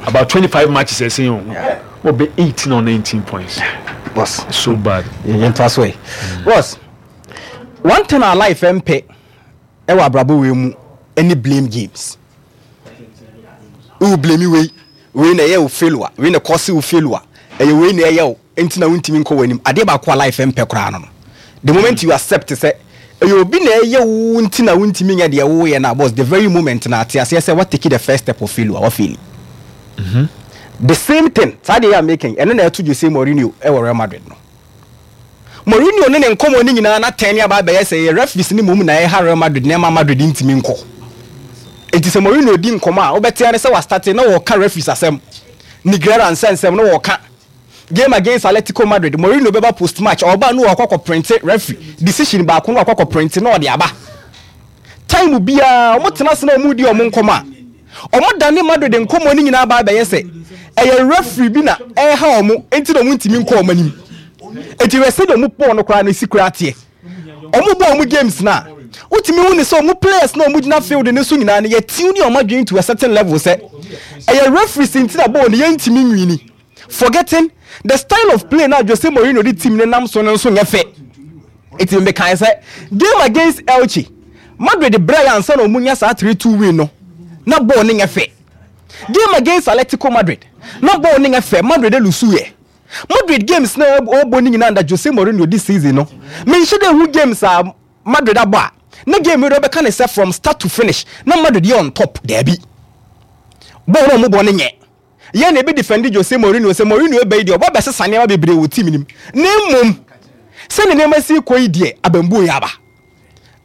about 25 matches ɛsɛn o wɔ bɛ 18 or 19 points. Boss. So bad. Yɛn to aso yi. Boss, one thing our life mpɛ ɛwɔ abrabɔ wei mu ɛne blame games. Wo blame wei, wei na ɛyɛ wo failure, wei na cause wo failure, ɛyɛ wei na ɛyɛ wo, nti na wontumi nkɔ w'anim. Adeɛ baako a life mpɛ koraa no no. The moment you accept sɛ ɛyɛ obi na ɛyɛ wo nti na wontumi nyɛ deɛ woyɛ no a, boss, the very moment na ate aseɛ sɛ wa take the first step of failure, wa fail. The same thing, saa deɛ yɛ a meka yi, ɛno na ɛto Jose Mourinho ɛwɔ Real Madrid no. Mourinho ne ne nkɔmmɔ no nyinaa n'atɛn ne aba abɛyɛ sɛ ɛyɛ referees no mmom na ɛha Real Madrid na ɛma Madrid ntumi nkɔ. Enti sɛ Mourinho di nkɔmmɔ a, wobɛte ara ne sɛ wastate na ɔreka referees asɛm, Negreira nsɛnsɛm na ɔreka. Game against Atletico Madrid, Mourinho bɛba post match, ɔba na ɔkɔ akɔprinte referee decision baako na wakɔ akɔprinte na ɔde aba. Time biara wɔtena ase na wɔredi wɔn nkɔmmɔ a, wɔdane Madrid nkɔmmɔ no nyinaa ba abɛyɛ sɛ ɛyɛ referee bi na ɛreha wɔn nti na wɔntumi nkɔ wɔn anim. Enti hwɛ sɛdeɛ wɔn bɔɔl no koraa no si koraa teɛ. Wɔbɔ wɔn games no a, wotumi hu ne sɛ wɔn players na wɔgyina field no so nyinaa no yɛtune wɔn adwene to a certain level sɛ ɛyɛ referees nti na bɔɔl no yɛntumi nwini. Forgetting the style of play na Jose Mourinho de team no nam so no nso nyɛ fɛ. Enti mekae sɛ game against Elche, Madrid brɛe ansa na wɔnya saa 3-2 win no, na bɔɔl no nyɛ fɛ. Game against Atletico Madrid, na bɔɔl no nyɛ fɛ, Madrid lusuiɛ. Madrid games na wɔbɔ no nyinaa under Jose Mourinho this season no, menhyɛ da nhu games a Madrid abɔ a, na game no deɛ wobɛka ne sɛ from start to finish na Madrid yɛ on top, daabi. Bɔɔl no a wɔbɔ no nyɛ. Yɛn na yɛbɛ defend Jose Mourinho sɛ Mourinho reba yi deɛ ɔba bɛsesa nneɛma bebree wɔ team no mu na mmom sɛdeɛ nneɛma si rekɔ yi deɛ abambuo yɛ aba.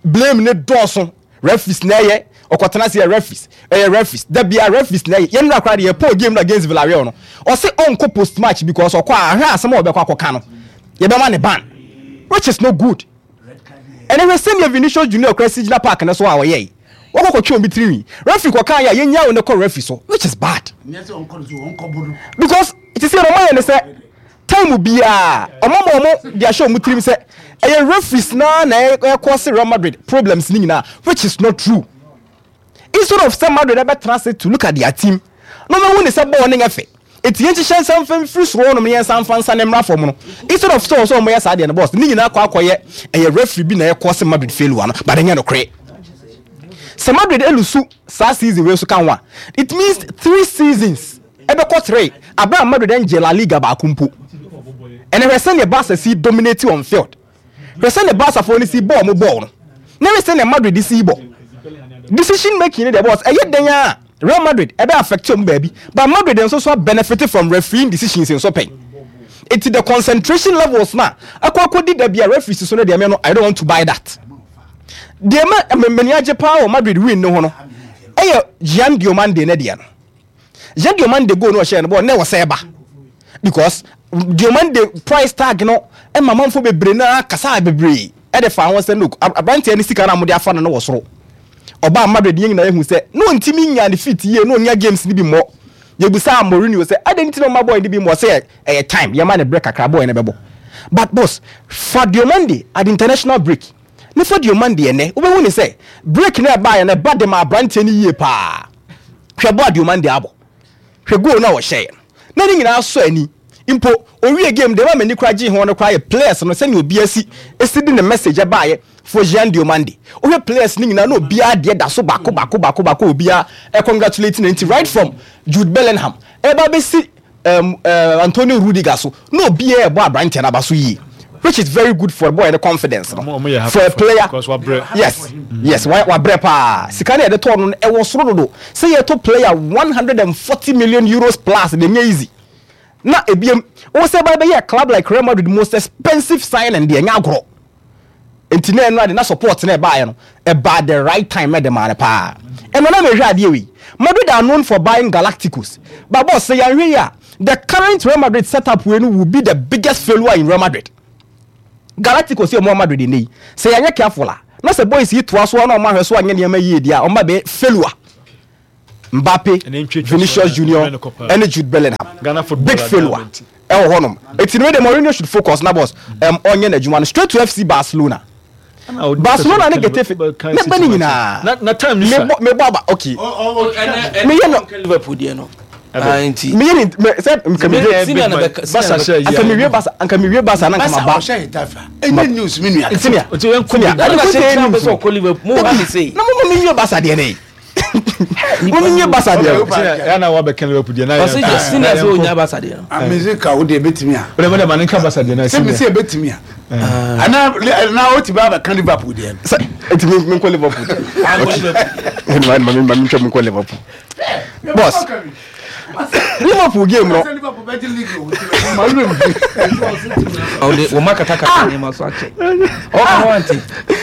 Blame no dɔɔso, referees na ɛyɛ, ɔkɔtena ase yɛ referees, ɛyɛ referees, da biara referees na ɛyɛ. Yɛn nnura koraa deɛ yɛpɔn game no against Villarreal no, ɔse ɔnkɔ post match because ɔkɔ a ahwɛ asɛm a ɔbɛkɔ akɔka no yɛbɛma ne ban which is not good. Ɛnɛ hwɛ sɛdeɛ Vinicius Junior koraa si gyina park no so a ɔyɛe. Wɔkɔ kɔtwe obi tirinwi. Referee kɔkaa yɛ a yɛnyaa wo no kɔ referee so which is bad. Because te sɛ ɔmo ayɛ ne sɛ time biara ɔmo ama ɔmo de ahyɛ ɔmo tirim sɛ ɛyɛ referees naa na ɛkɔ se Real Madrid problems ne nyinaa which is not true. Instead of sɛ Madrid ɛbɛtena ase to look at their team na ɔmo ahu ne sɛ bɔɔl no nyɛ fɛ. Enti yɛnhyehyɛ nsa mfa mfiri soro hɔnom na yɛnsan mfa nsa no mmra fam no, instead of sɛ ɔsɛ wɔyɛ saa deɛ no boss, ne nyinaa kɔ akɔyɛ ɛyɛ referee bi na ɛyɛ cause Madrid failure no, but ɛnyɛ nokorɛ. Sɛ Madrid elusu saa season wei nso ka ho a, it means three seasons ɛbɛkɔ three abere a Madrid ɛngye La Liga baako mpo. Ɛnɛ hwɛ sɛdeɛ Barca si dominate on field. Hwɛ sɛdeɛ Barcafoɔ no si bɔ wɔn bɔɔl no, na hwɛ sɛdeɛ Madrid si bɔ. Decision making no deɛ boss, ɛyɛ dɛn ara a Real Madrid ɛbɛ affect wɔn baabi, but Madrid nso so benefit from refereeing decisions nso pɛn. Eti the concentration levels na akɔ akɔdi da bi a referees so no deɛ me no I don't want to buy that. Deɛ ma m'ani agye paa wɔ Madrid win no ho no ɛyɛ Gian Diomande ne deɛ no. Yɛ Diomande goal no ɔhyɛɛ no bɔɔl na ɛwɔ sɛ ɛba because Diomande price tag no ɛma manfo bebree na kasa bebree ɛde fa ho sɛ look aberanteɛ ne sika no a mode afa no no wɔ soro. Ɔbaa Madrid yɛn nyinaa yɛhu sɛ na ɔntumi nya ne fit yie na ɔnya games no bi mmɔ. Yɛbusaa Mourinho sɛ adɛn nti na ɔma boy no bi mmɔ sɛ ɛyɛ time yɛma no berɛ kakra boy no bɛbɔ. But boss fa Diomande at international break ne fa Diomande ɛnɛ wobɛhu ne sɛ break no ɛbaeɛ no ɛba de ma aberanteɛ no yie paa. Hwɛ bɔ a Diomande abɔ. Hwɛ goal no a ɔhyɛeɛ no. Na ne nyinaa sɔ ani. Mpo owie game deɛ ɛma m'ani koraa gyee ho no koraa yɛ players no sɛnea obiara si si de ne message baeɛ for Jean Diomande. Wohwɛ players no nyinaa na obiara deɛ da so baako baako baako baako a obiara congratulate no nti right from Jude Bellingham ɛreba abɛsi um, uh, Antonio Rudiger so na obiara ɛbɔ aberanteɛ no aba so yie which is very good for boy no confidence no for a player yes yes wabrɛ paa sika no yɛde tɔɔ no ɛwɔ soro dodo sɛ yɛtɔ player 140 million euros plus de nyɛ easy na ebiem wo sɛ ba bɛyɛ club like Real Madrid most expensive signing deɛ nyɛ agorɔ. Nti na ɛno ade na support na ɛbaeɛ no ɛbaa the right time ɛde maa no paa. Ɛno na mehwɛ adeɛ wei. Madrid are known for buying Galacticos. But boss sɛ yɛanhwɛ yie a the current Real Madrid setup wei no will be the biggest failure in Real Madrid. Galacticos yi a wɔwɔ Madrid nnɛ yi sɛ yɛanyɛ careful a na sɛ boys yi toa so a na wɔn ahwɛ so anyɛ nneɛma yie deɛ a wɔn ba bɛyɛ failure. Mbappe, Vinicius Junior ɛne Jude Bellingham. Big failure ɛwɔ hɔnom. Eti no de Mourinho should focus na boss um, ɔnyɛ n'adwuma no straight to FC Barcelona. Barcelona ne Getafe ne bɛ ne nyinaa. Na time ni sa. Mebɔ mebɔ aba okay. Meyɛ no Liverpool deɛ no. Nti. Meyɛ ne sɛ nka mi wie Barca hyɛ yie. Nka mi wie Barca nka mi wie Barca na nka ma ba. Barca ɔhyɛ Getafe a ɛnyɛ news mi nua. Senior senior. Ɛna sɛ kyerɛ bɛ sɛ ɔkɔ Liverpool mo ha ne sei. Na mo ma mi wie Barca deɛ ne. Mo mi wie Barca deɛ. Senior na wa bɛ kɛn Liverpool deɛ na yɛ. Ɔsɛ senior sɛ onya Barca deɛ no. Amezi ka wo deɛ ebetumi a. O de ma de ma ne nka Barca deɛ na senior. Sɛ mi sɛ ebetumi a. Ana na o ti ba bɛ kan Liverpool deɛ no. Sɛ eti mi mi nkɔ Liverpool deɛ. Ɛni ma mi ma mi ntwa mi nkɔ Liverpool. Boss Liverpool game no. Ɔde wɔn akatakata nneɛma so akyɛ. Ɔka ho ante.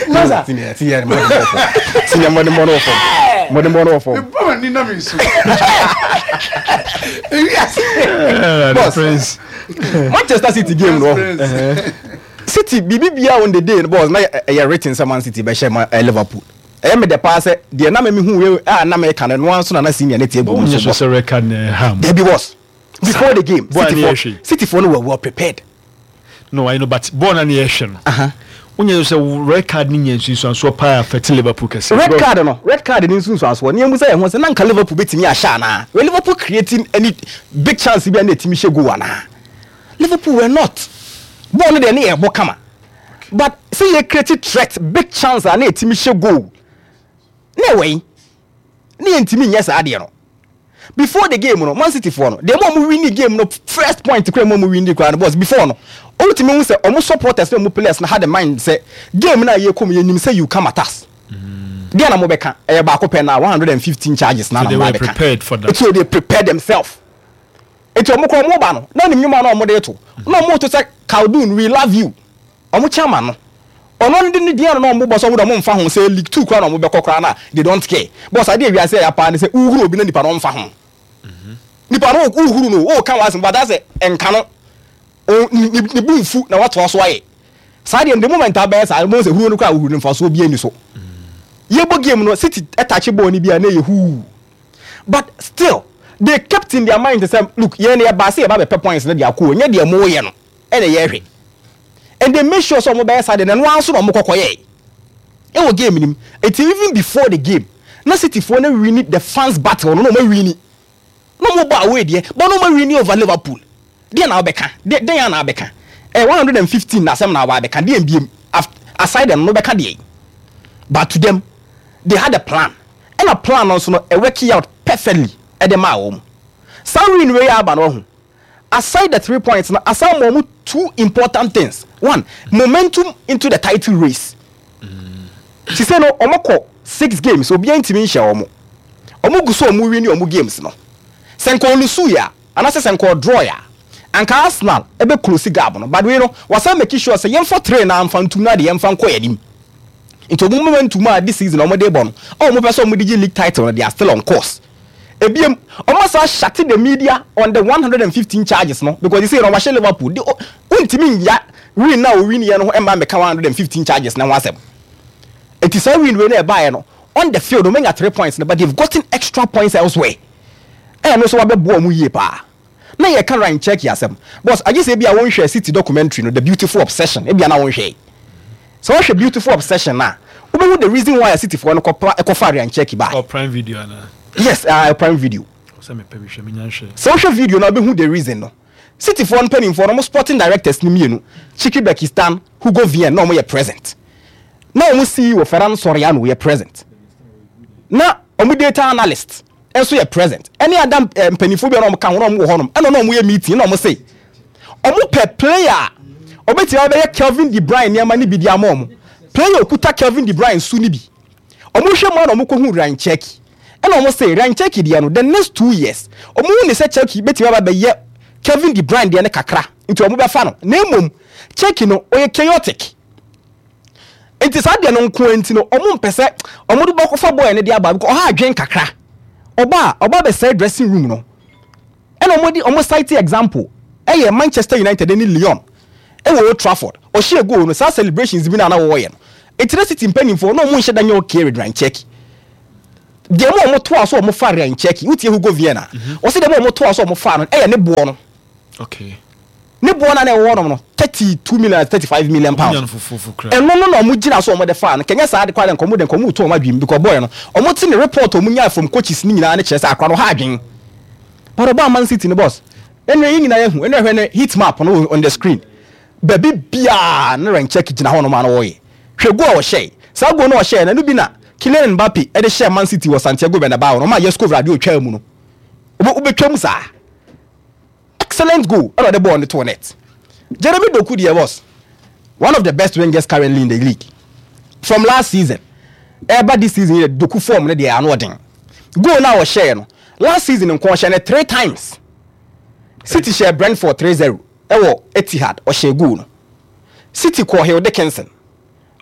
Masa. Senior senior mo de bɔ fam. Senior mo de bɔ no fam. Mo de bɔ no fam. Bɔ ma ni na mi nsu. Boss. Manchester City game no. City biribi bia on the day no boss na ɛyɛ written sɛ Man City bɛhyɛ Liverpool. Ɛyɛ me dɛ paa sɛ deɛ na me mehu wei a na meka no ɛno ara nso na na senior no te agu mu nso bɔ. Sɛ card na ɛha mu. Dabi boss. Before the game, City for City for no were well prepared. No, I know, but bɔɔl na ne yɛhwɛ no. Wonyɛ sɛ red card ne nya nsunsuansoɔ paa affect Liverpool kɛse. Red card no, red card ne nsunsuansoɔ. Ne yɛn sɛ yɛn ho sɛ na nka Liverpool betumi ahyɛ anaa. Were Liverpool creating any big chance bi a na etumi hyɛ goal anaa? Liverpool were not. Bɔɔl no deɛ ne yɛ bɔ kama. But sɛ yɛ create threat big chance a na yɛtumi hyɛ goal na ɛwɔ yi na yɛntumi nyɛ saa adeɛ no. Before the game no Man City foɔ no deɛ mo a wɔn winni game no first point koraa mo a wɔn winni koraa no boss before no wotumi hu sɛ wɔn supporters ne wɔn players no had the mind sɛ game no a yɛkɔ mu yɛnim sɛ you come at us. Deɛ na mobɛka ɛyɛ baako pɛ na 115 charges na so na they were prepared for that. So they prepared themselves. Nti ɔmo koraa ɔmo ba no na ɔnim nwom a na ɔmo de to. Na ɔmo to sɛ Khaldun we love you. Ɔmo chairman no ɔno no de ne din ano na ɔmo bɔ sɛ ɔmo de ɔmo nfa ho sɛ league two koraa na ɔmo bɛkɔ koraa no a they don't care. Boss adeɛ wiase ɛya paa ne sɛ wohuru obi na nipa no ɔnfa ho. Nipa no wohuru no woka w'asɛm but asɛ nka no ne bo nfu na watoa so ayɛ. Saa deɛ no the moment abɛyɛ saa no wobɛhu sɛ huro no koraa wohuru no mfasoɔ biara nni so. Yɛbɔ game no City touch ball no bi a na ɛyɛ huu. But still they kept in their mind sɛ look yɛn no yɛbaa sɛ yɛba bɛpɛ points no de akɔ o nyɛ deɛ moyɛ no ɛna yɛhwɛ and they made sure sɛ wɔn bɛyɛ saa deɛ na ɛno ara nso na wɔn kɔkɔ yɛɛ ɛwɔ game no mu eti even before the game na City foɔ no wini the fans battle no na wɔn awini na wɔn bɔ away deɛ but na wɔn awini over Liverpool Deɛn na wobɛka? Deɛ, dɛn ara na wabɛka? Ɛyɛ 115 na asɛm na waba abɛka, deɛn biom? Af, aside ɛno no, wobɛka deɛn? But to them, they had a plan. Ɛna plan no nso no, ɛ work out perfectly ɛde maa wɔn. Saa win wei a aba no, wahu, aside the three points no, asan ma wɔn two important things. One, momentum into the title race. Sisei no, wɔkɔ six games, obiara ntumi nhyɛ wɔn. Wɔn gu so a wɔn wini wɔn games no. Sɛ nka wɔlusuiɛ a, Anasɛ sɛ nka ɔdrawɔe a anka Arsenal bɛ close gap no but wei no wasan make sure sɛ yɛnfa three no ara nfa ntum na deɛ yɛnfa nkɔ yɛn anim. Nti ɔmo momentum a this season ɔmo de bɔ no a ɔmo pɛ sɛ ɔmo de gye league title no they are still on course. Ebiem ɔmo asan shut the media on the 115 charges no because sesei no wahyɛ Liverpool de wontumi nnya win no a ɔwiniɛ no ho mma mmɛka 115 charges no ho asɛm. Nti saa win wei no a ɛbaeɛ no on the field ɔmo anya three points no but they've gotten extra points elsewhere. Ɛno nso wabɛboa wɔn yie paa. Na yɛka Ryan Cherki asɛm. Boss, agye sɛ ebia wonhwɛɛ City documentary no, The Beautiful Obsession, ebia na wonhwɛe. Sɛ wohwɛ Beautiful Obsession no a, wobɛhu the reason why a Cityfoɔ no kɔpa kɔfaa Ryan Cherki bae. Ɔ Prime Video anaa? Yes, Prime Video. Sɛ mepɛ bi hwɛ, menya nhwɛe. Sɛ wohwɛ video no a, wobɛhu the reason no. Cityfoɔ no mpanimfoɔ no, wɔn sporting directors no mmienu, Txiki Begiristain, Hugo Vien, na wɔyɛ present. Na wɔn CEO Ferran Soriano yɛ present. Na wɔn data analyst nso yɛ present ɛne ada eh, mpanimfoɔ bi a na wɔn ka ho na wɔn wɔ hɔnom ɛna na wɔn yɛ meeting na wɔn se wɔn pɛ player a ɔbɛtumi abɛyɛ Kelvin De Bruyne nneɛma no bi de ama wɔn player okuta Kelvin De Bruyne su no bi wɔn hwɛ mu a na wɔn kɔ hu Ryan Cherki ɛna wɔn se Ryan Cherki deɛ no the next 2 years wɔn hu ne sɛ Cherki bɛtumi aba bɛyɛ Kelvin De Bruyne deɛ no kakra nti wɔn bɛfa no na mmom Cherki no ɔyɛ chaotic. Nti saa deɛ no nko ara nti no ɔmo mpɛ sɛ ɔmo de bɛkɔfa boy no de aba because ɔha adwen kakra. Ɔba a ɔba bɛsɛe dressing room no. Ɛna ɔmo de ɔmo cite example ɛyɛ Manchester United ɛne Lyon ɛwɔ Old Trafford. Ɔhyɛɛ goal no saa celebrations bi no a na wɔyɛ no. Nti na City mpaninfoɔ na ɔmo nhyɛ da nyɛ okay with Ryan Cherki. Deɛ ma ɔmo toa so ɔmo fa Ryan Cherki, wotie Hugo Viana a, ɔse deɛ ma ɔmo toa so ɔmo faa no ɛyɛ ne boɔ no. Okay. Ne boɔ no a na ɛwɔ hɔnom no, 32 million anaa 35 million pounds. Ɛno no na wɔn gyina so a wɔde faa no. Kɛnyɛ saa de koraa deɛ nka wɔn deɛ nka wɔn retu wɔn adwene mu because boy no, wɔn te ne report a wɔn nyae from coaches no nyinaa no kyerɛ sɛ akora no ɔha adwene. But ɔbaa Man City no boss, ɛnna yɛn nyinaa yɛahu, ɛnna hwɛ ne heat map no on the screen. Baabi biara na Rencheck gyina hɔnom a na ɔreyɛ. Hwɛ goal a ɔhyɛe. Saa goal no a ɔhyɛe no, ɛno bi na Kylian Mbappe de hyɛɛ Man City wɔ Santiago Bernabao no, ɔmaa Jesko Gvardiol twaa mu no. Wobɛtwa mu saa. Excellent goal ɛna ɔde bɔɔl no too net. Jeremy Doku deɛ was one of the best wingers currently in the league. From last season ɛreba this season yɛ Doku form no deɛ ano ɔden. Goal no a ɔhyɛɛ no last season nko ɔhyɛ no three times. City hyɛɛ Brentford 3-0 ɛwɔ Etihad ɔhyɛɛ goal no. City kɔɔ Hill Dickinson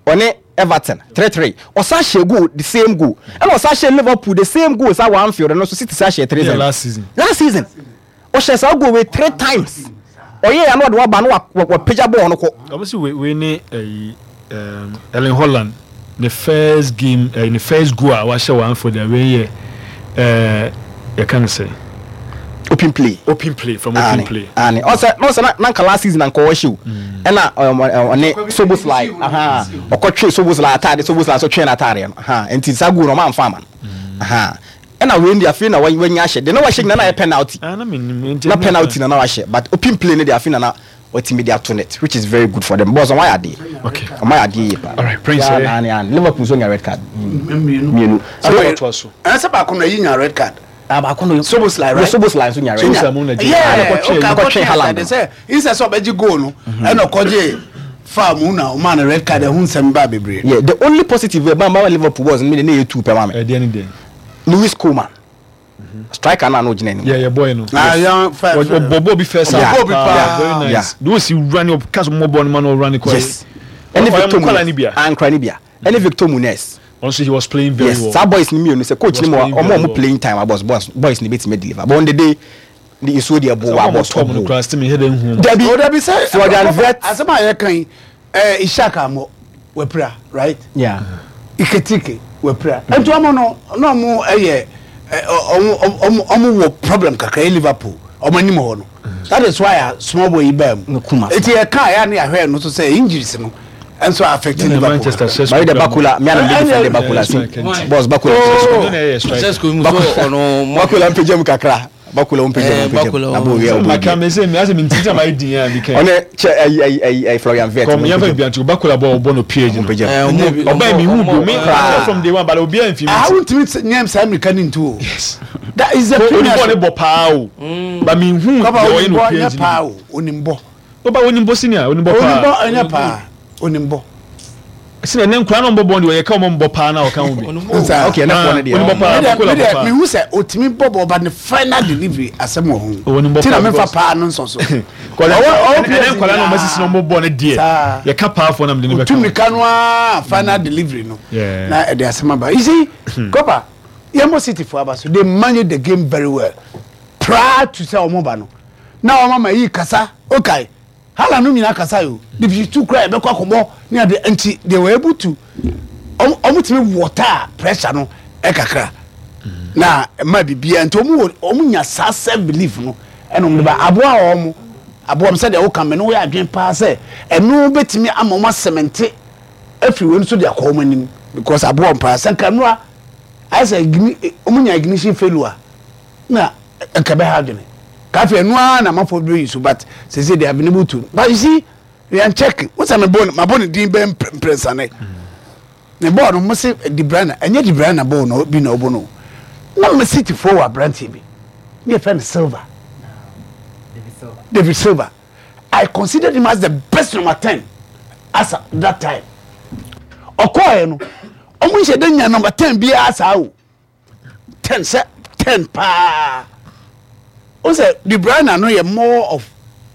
ɔne Everton 3-3 ɔsan hyɛɛ goal the same goal ɛna ɔsan hyɛɛ Liverpool the same goal saa wɔ Anfield no nso City san hyɛɛ 3-0 last season. Last season. Ɔhyɛ saa goal wei three times. Ɔyɛ ya na ɔde waba na wapagya bɔɔl no kɔ. Ɔmo si wei wei ne ɛyi ɛɛm Erling Holland ne first game ɛɛ ne first goal a wahyɛ wɔ Anfield a wei yɛ ɛɛ yɛka ne sɛ. Open play. Open play from open Aane play. aane ɔsɛ na ɔsɛ na na nka last season anka ɔhyɛ o ɛna ɔne Szoboszlai ahaa ɔkɔtwe Szoboszlai ataade Szoboszlai nso twee n'ataadeɛ no ahaa nti saa goal no ɔmo amfa ama no ahaa. Ɛna wei deɛ afei na wanya ahyɛ deɛ na wahyɛ nyina na ayɛ penalty Ah, na menim nti na penalty na na wahyɛ but open play no deɛ afei na na watumi de ato net which is very good for them boss ɔmo ayɛ adeɛ okay ɔmo ayɛ adeɛ yie paa alright prince yeah, eh na na Liverpool nso nya red card mmienu mmienu so ɔtoa so ɛsɛ baako na yi nya red card ah baako no Szoboszlai right yeah Szoboszlai nso nya red Szoboszlai mu na gye yeah kɔtwe okay kɔtwe Haaland sɛ insɛ sɛ ɔbɛgye goal no ɛna ɔkɔgye foul mu na ɔmaa no red card ɛho nsɛm baa bebree yeah the only positive ɛba ma Liverpool boss no mi de ne yɛ two pɛ ma mi ɛdeɛ ne deɛ Lewis Coleman striker no a na ɔgyina anim. Yeah, yeah, boy no. Ah, yeah, fair, fair. Ɔbɔ bi first half. Ɔbɔ bi paa. Very nice. De osi wura ne ɔka so mmɔbɔ no ma na ɔwura ne kɔ. Yes. Ɛne Victor Munez. Ankora ne bia. Ɛne Victor Munez. Also he was playing very yes, well. Saa boys ni mmienu sɛ coach ni mu ɔmo ɔmo playing time abɔs boys boys ni betumi deliver. But on the day ne nsuo deɛ bo wa abɔs ɔbo. Dabi dabi sɛ Florian Wirtz. Asɛm a yɛka yi ɛɛ Ishak Amɔ wapira right. Yeah. Iketike wapira. Nti ɔmo no na ɔmo ɛyɛ ɔmo ɔmo ɔmo wɔ problem kakra yɛ Liverpool ɔmo anim hɔ no. That is why a small boy yi baa mu. Nti yɛ kaa yɛ ne yɛahwɛ no so sɛ injuries no nso affect Liverpool. Manchester Sesko. Bari de Bakula mi anam de defend Bakula si boss Bakula. Sesko mu so ɔno. Bakula mpagya mu kakra. Bakula wo mpagya mu mpagya mu na bo wia obo. Maka me se me ase me ntiti ama edin a mi kan. Ɔne kyɛ ayi ayi ayi ayi Florian Wirtz. Kɔm yɛn fɛ bi anti Bakula bɔ ɔbɔ no PH no. Mpagya mu. Ɔbɛn mi hu bi me from day one but obi anfi mi. Ah wontumi nyɛ saa mirika ne ntu o. Yes. That is the premier. Onim bɔ ne bɔ paa o. But mi hu deɛ ɔyɛ no PH no. paa o onim bɔ. Oba onim bɔ senior onim bɔ paa. Onim bɔ ɛnyɛ paa onim bɔ. Senior ne nkura na ɔmbɔ bɔ deɛ ɔyɛ ka ɔmɔ mbɔ paa na ɔka ho bi. Okay ɛnɛ fɔ ne deɛ. Onim bɔ paa Bakula bɔ paa. Mehu sɛ otumi bɔ bɔ ba ne final delivery asɛm wɔ ho. Onim bɔ paa. Ti na mefa paa no nsɔ so. Ɛnɛ nkwadaa na ɔmo asisi na ɔmo bɔ ne deɛ yɛ ka paa fɔ na mede ne bɛka. Otumi ka no aa final delivery no na ɛde asɛm aba. You see Kopa yɛn bɔ City fo aba so they manage the game very well prior to sɛ ɔmo ba no na ɔmo ama yi kasa okay. Haaland no nyinaa kasa yo division two koraa yɛbɛkɔ akɔbɔ ne ade nti they were able to ɔmo tumi water pressure no ɛkakra na ɛma biribiara nti ɔmo wɔ ɔmo nya saa self belief no ɛna ɔmo de ba aboa ɔmo aboa ɔmo sɛdeɛ ɔka mɛ no wɔyɛ adwene paa sɛ ɛno bɛtumi ama ɔmo asɛmɛnte afiri wɔn so de akɔ ɔmo anim because aboa ɔmo paa sɛ nka nnora ayɛ sɛ ɔmo nya ignition failure na nka ɛbɛha adwene ka afei ɛno ara na amanfoɔ bɛ yi so but sese they have been able to but you see yɛn check n sɛ mebɔ mabɔ ne din bɛn mprɛnsa ne ne bɔɔl no mo se De Bruyne ɛnyɛ De Bruyne bɔɔl no bi na ɔbɔ no na mo City foɔ wɔ aberanteɛ bi ne yɛfrɛ no Silva David Silva I considered him as the best number 10 as at that time ɔkɔɔɛ no ɔmo nhyɛ dɛ nya number 10 biara saa o ten sɛ ten paa o sɛ De Bruyne no yɛ more of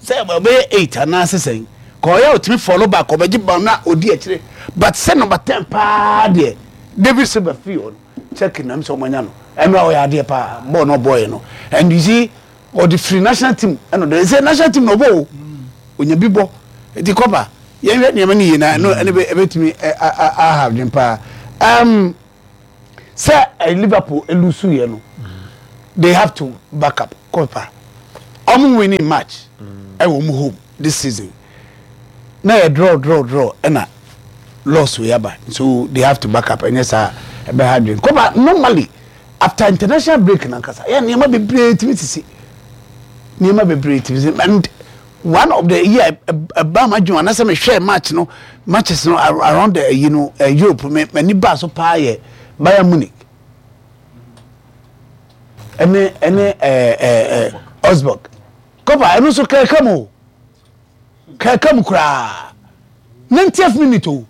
sɛ ɔbɛyɛ eight anaasɛ sɛn. Ka ɔyɛ a ɔtumi follow back ɔbɛgye ball na ɔdi akyire but sɛ number ten paa deɛ David Silva firi hɔ no Turkey nam sɛ ɔmo anya no ɛno a ɔyɛ adeɛ paa ball no ɔbɔɔyɛ no and you see ɔde firi national team ɛna ɔde sɛ national team na ɔbɔ o onya bi bɔ nti kɔba yɛnhwɛ nneɛma no yie na ɛno ɛno ɛbɛtumi aha adwene paa um, sɛ eh, Liverpool elusu yɛ no they have to back up kɔpa ɔmo winning match ɛwɔ ɔmo home this season na yɛ draw draw draw ɛna loss wei aba so they have to back up ɛnyɛ saa ɛbɛha adwene kɔpa normally after international break nankasa yɛ nneɛma bebree tumi sisi nneɛma bebree tumi sisi and one of the year ɛba ma adwuma anasɛ mehwɛ match no matches no around the you know eh, Europe me m'ani baa so paa yɛ Bayern Munich ɛne ɛne ɛɛ ɛɛ Augsburg kɔpa ɛno nso kɛkɛ mu o kɛkɛ mu koraa 90th minute o.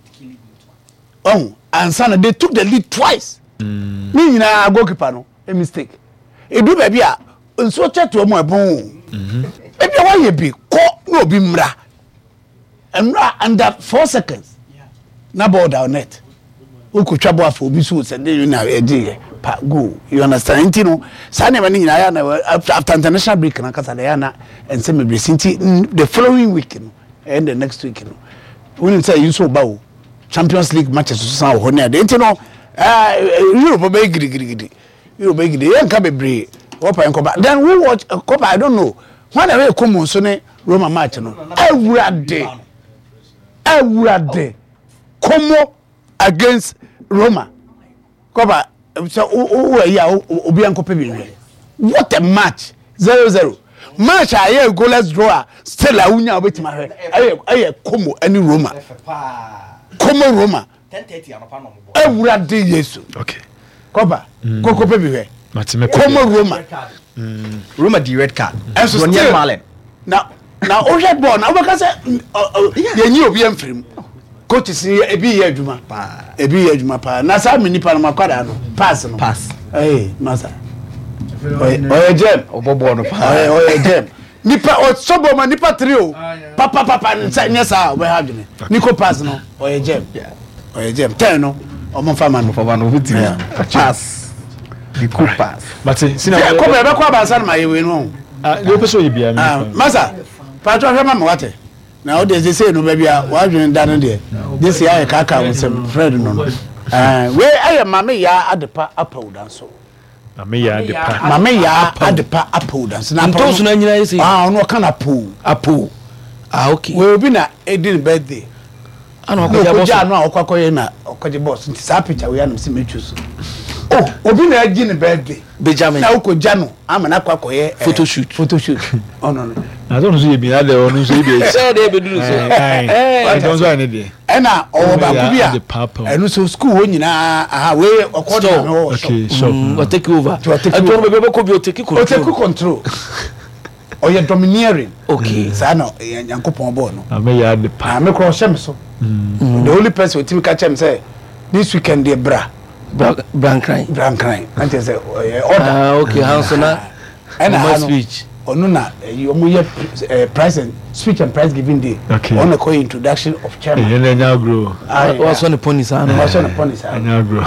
Wahu? Ansa na they took the lead twice. Mm. Ne nyinaa goalkeeper no a mistake. Edu baabi a nsuo kyɛ toa mu ɛbɔn o. Mhm. Ebi a wayɛ bi kɔ na obi mmra. Mmra under 4 seconds na ball down net. Wokotwa bɔ afɔ obi so sɛ de na ɛgye yɛ pa goal. You understand? Nti no saa nneɛma no nyinaa yɛ na after international break na kasa na yɛ na nsɛm bebree si nti the following week no and the next week no wonim sɛ yi nso ba o. Champions League matches nso san wɔ hɔ ne ade nti no ɛɛ Europe bɛyɛ gidigidi Europe bɛyɛ gidi yɛn nka bebree wɔpa yɛn kɔba then who watch kɔba I don't know wɔn na ɛyɛ Como nso ne Roma match no awurade awurade Como against Roma kɔba sɛ wo wo ayi a obi ankɔpɛ bi nhwɛ what a match 0-0 match a ɛyɛ goalless draw a still a wonya a wobɛtumi ahwɛ ɛyɛ ɛyɛ Como ɛne Roma Como Roma awurade Yesu okay kɔba kɔkɔpɛ bi hwɛ Como Roma Roma di red card ɛnso still na na wohwɛ bɔɔl na wobɛka sɛ yɛnyi obi amfiri mu coaches ni ebi yɛ adwuma ebi yɛ adwuma paa na saa mi nipa no ma kwadaa no pass no pass ɛyɛ masa ɔyɛ jɛm ɔbɔ bɔɔl no paa ɔyɛ ɔyɛ jɛm nipa ɔsɔ bɔɔl ma nipa tiri o papapapa nsa nyɛ saa ɔbɛha adwene niko pass no ɔyɛ jɛm ɔyɛ jɛm tɛn no ɔmo nfa ma no ɔmo fa ma no ɔmo ti pass niko pass mate sina kɔbɛ ɛbɛkɔ abansa no ma yɛ wei no. Ah, deɛ wopɛ sɛ ɔyɛ biara me Ah, masa, paatwa hwɛ ma me wate. Na wo deɛ sesei no baabi a w'adwene da no deɛ, gye sɛ ayɛ kaakaa wo nsam, Fred no no. Eh, wei ɛyɛ Mame Yaa Adepa Apawu Danso. Mame Yaa Adepa. Mame Yaa Adepa Apawu Danso. Na Apawu Ntooso no anyina yɛ sei. Ah, ɔno ɔka no Apawu. Apawu. Ah, okay. Wei obi na edi ne birthday. Ana ɔkɔgye abɔ so. Na ɔkɔgye ano a ɔkɔ akɔyɛ na ɔkɔgye bɔs nti saa picture wei anam sɛ metwi so. Oh, obi na agye ne birthday. Benjamin. Na wokɔgya no ama no akɔ akɔyɛ eh, photo shoot. Photo shoot. Ɔno no. Na sɛ ɔno nso yɛ bi na deɛ ɔno nso yɛ bi akyi. Sɛ deɛ ebeduru so. Ɛɛ ɔno nso ayɛ ne deɛ. Ɛna ɔwɔ baako bi a ɛno so school hɔ nyinaa aha wei ɔkɔ de maame wɔ shop. Okay shop. Ɔtake over. Ɔtake over. Ɛtɔ no baabi ɔbɛkɔ bi ɔtake control. Ɔtake control. Ɔyɛ domineering. Okay. Saa na Nyankopɔn bɔɔ no. Ame yɛ ade pa. Ame kora ɔhyɛ me so. The only person otimi ka kyerɛ me sɛ this weekend deɛ bra. Bra Brankran. Brankran. Na kyerɛ sɛ ɔyɛ order. Ah okay, ha nso na. Ɛna ha no speech. Ɔno na ɛyi ɔmo yɛ eh, price and speech and prize giving day. Okay. Ɔno kɔ introduction of chairman. Ɛyɛ na ɛnya agorɔ. Wasɔ ne pɔni saa no. Wasɔ ne pɔni saa no. Ɛnya agorɔ.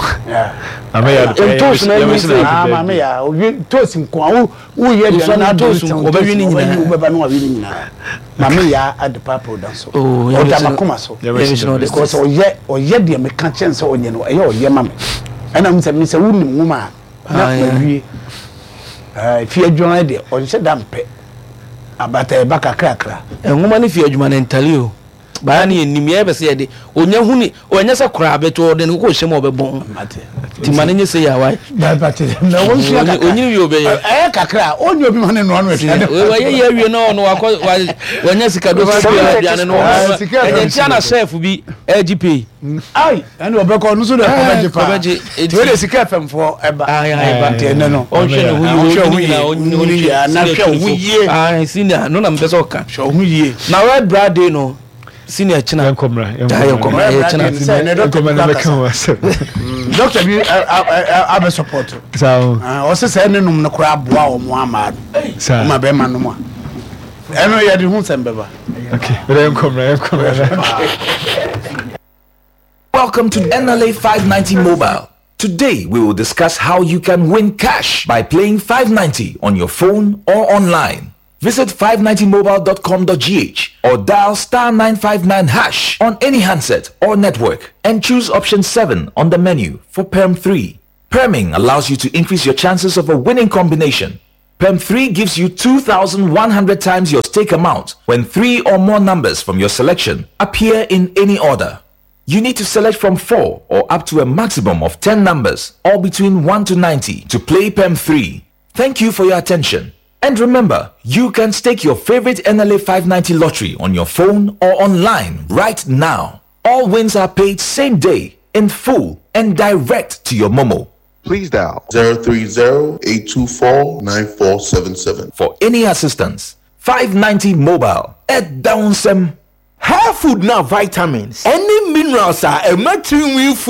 Ame yɛ ade pa. Ntoos na ɛnyɛ sɛ. Ah maame ya owie ntoos nko a woyɛ aduane na ade ntoos nko ɔbɛwe ne nyinaa. Wobɛba no wawe ne nyinaa. Maame ya ade pa product so. Ɔda makoma so. Because ɔyɛ ɔyɛ deɛ meka kyɛn sɛ ɔnyɛ no ɛyɛ ɔyɛ ma me. Ɛna mo sɛ me sɛ wonim nwoma a na mawie. Fie adwuma deɛ ɔnhyɛ da mpɛ. Abata ɛba kakrakra. Nwoma ne fie adwuma no ntale o. Baa ne yɛnim yɛyɛ pɛ sɛ yɛde ɔnya hu ne ɔnyɛ sɛ koraa bɛto ɔde ne kɔkɔ hyɛ mu a ɔbɛbɔn nti ma no nyɛ sɛ yɛ awae ɔnyini wie ɔbɛyɛ ɛyɛ kakra ɔnyɛ obi ma ne noa no aduane wayɛ yɛ awie na ɔno wakɔ wanya sika do sɛ aduane no ɛnyɛ ntia na chef bi ɛgye pay Ai, ɛne ɔbɛkɔ ɔno nso deɛ kɔbɛgye paa. Kɔbɛgye. Nti wei de sika fm foɔ ɛba. Ɛba. Nti ɛnɛ no. Ɔnhwɛ ne ho yie. Ɔnhwɛ ho yie. Ɔnyini yie. Na hwɛ ho yie. Ah, senior, no na mpɛ sɛ ɔka. Hwɛ ho yie. Na red bra day no, senior kyena. Yɛnkɔmra. Yɛnkɔmra. Yɛ kyena. Yɛnkɔmra na mɛka ho asɛm. Doctor bi abɛ support. Saa o. Ɔsɛ sɛ ne nom no koraa aboa wɔn ama no. Saa. Ɔma bɛrima nom a. Ɛno yɛde ho nsɛm bɛba. Okay, yɛnkɔ mmra, yɛnkɔ mmra. Welcome to NLA 590 Mobile. Today we will discuss how you can win cash by playing 590 on your phone or online. Visit 590mobile.com.gh or dial star 959 hash on any handset or network and choose option 7 on the menu for Perm 3. Perming allows you to increase your chances of a winning combination. Perm 3 gives you 2,100 times your stake amount when three or more numbers from your selection appear in any order. You need to select from 4 or up to a maximum of 10 numbers or between 1 to 90 to play PEM 3. Thank you for your attention. And remember, you can stake your favorite NLA 590 lottery on your phone or online right now. All wins are paid same day, in full, and direct to your Momo. Please dial 030-824-9477. For any assistance, 590 Mobile at Downsem. Hair food na vitamins ɛne minerals a ɛma tirinwi fu.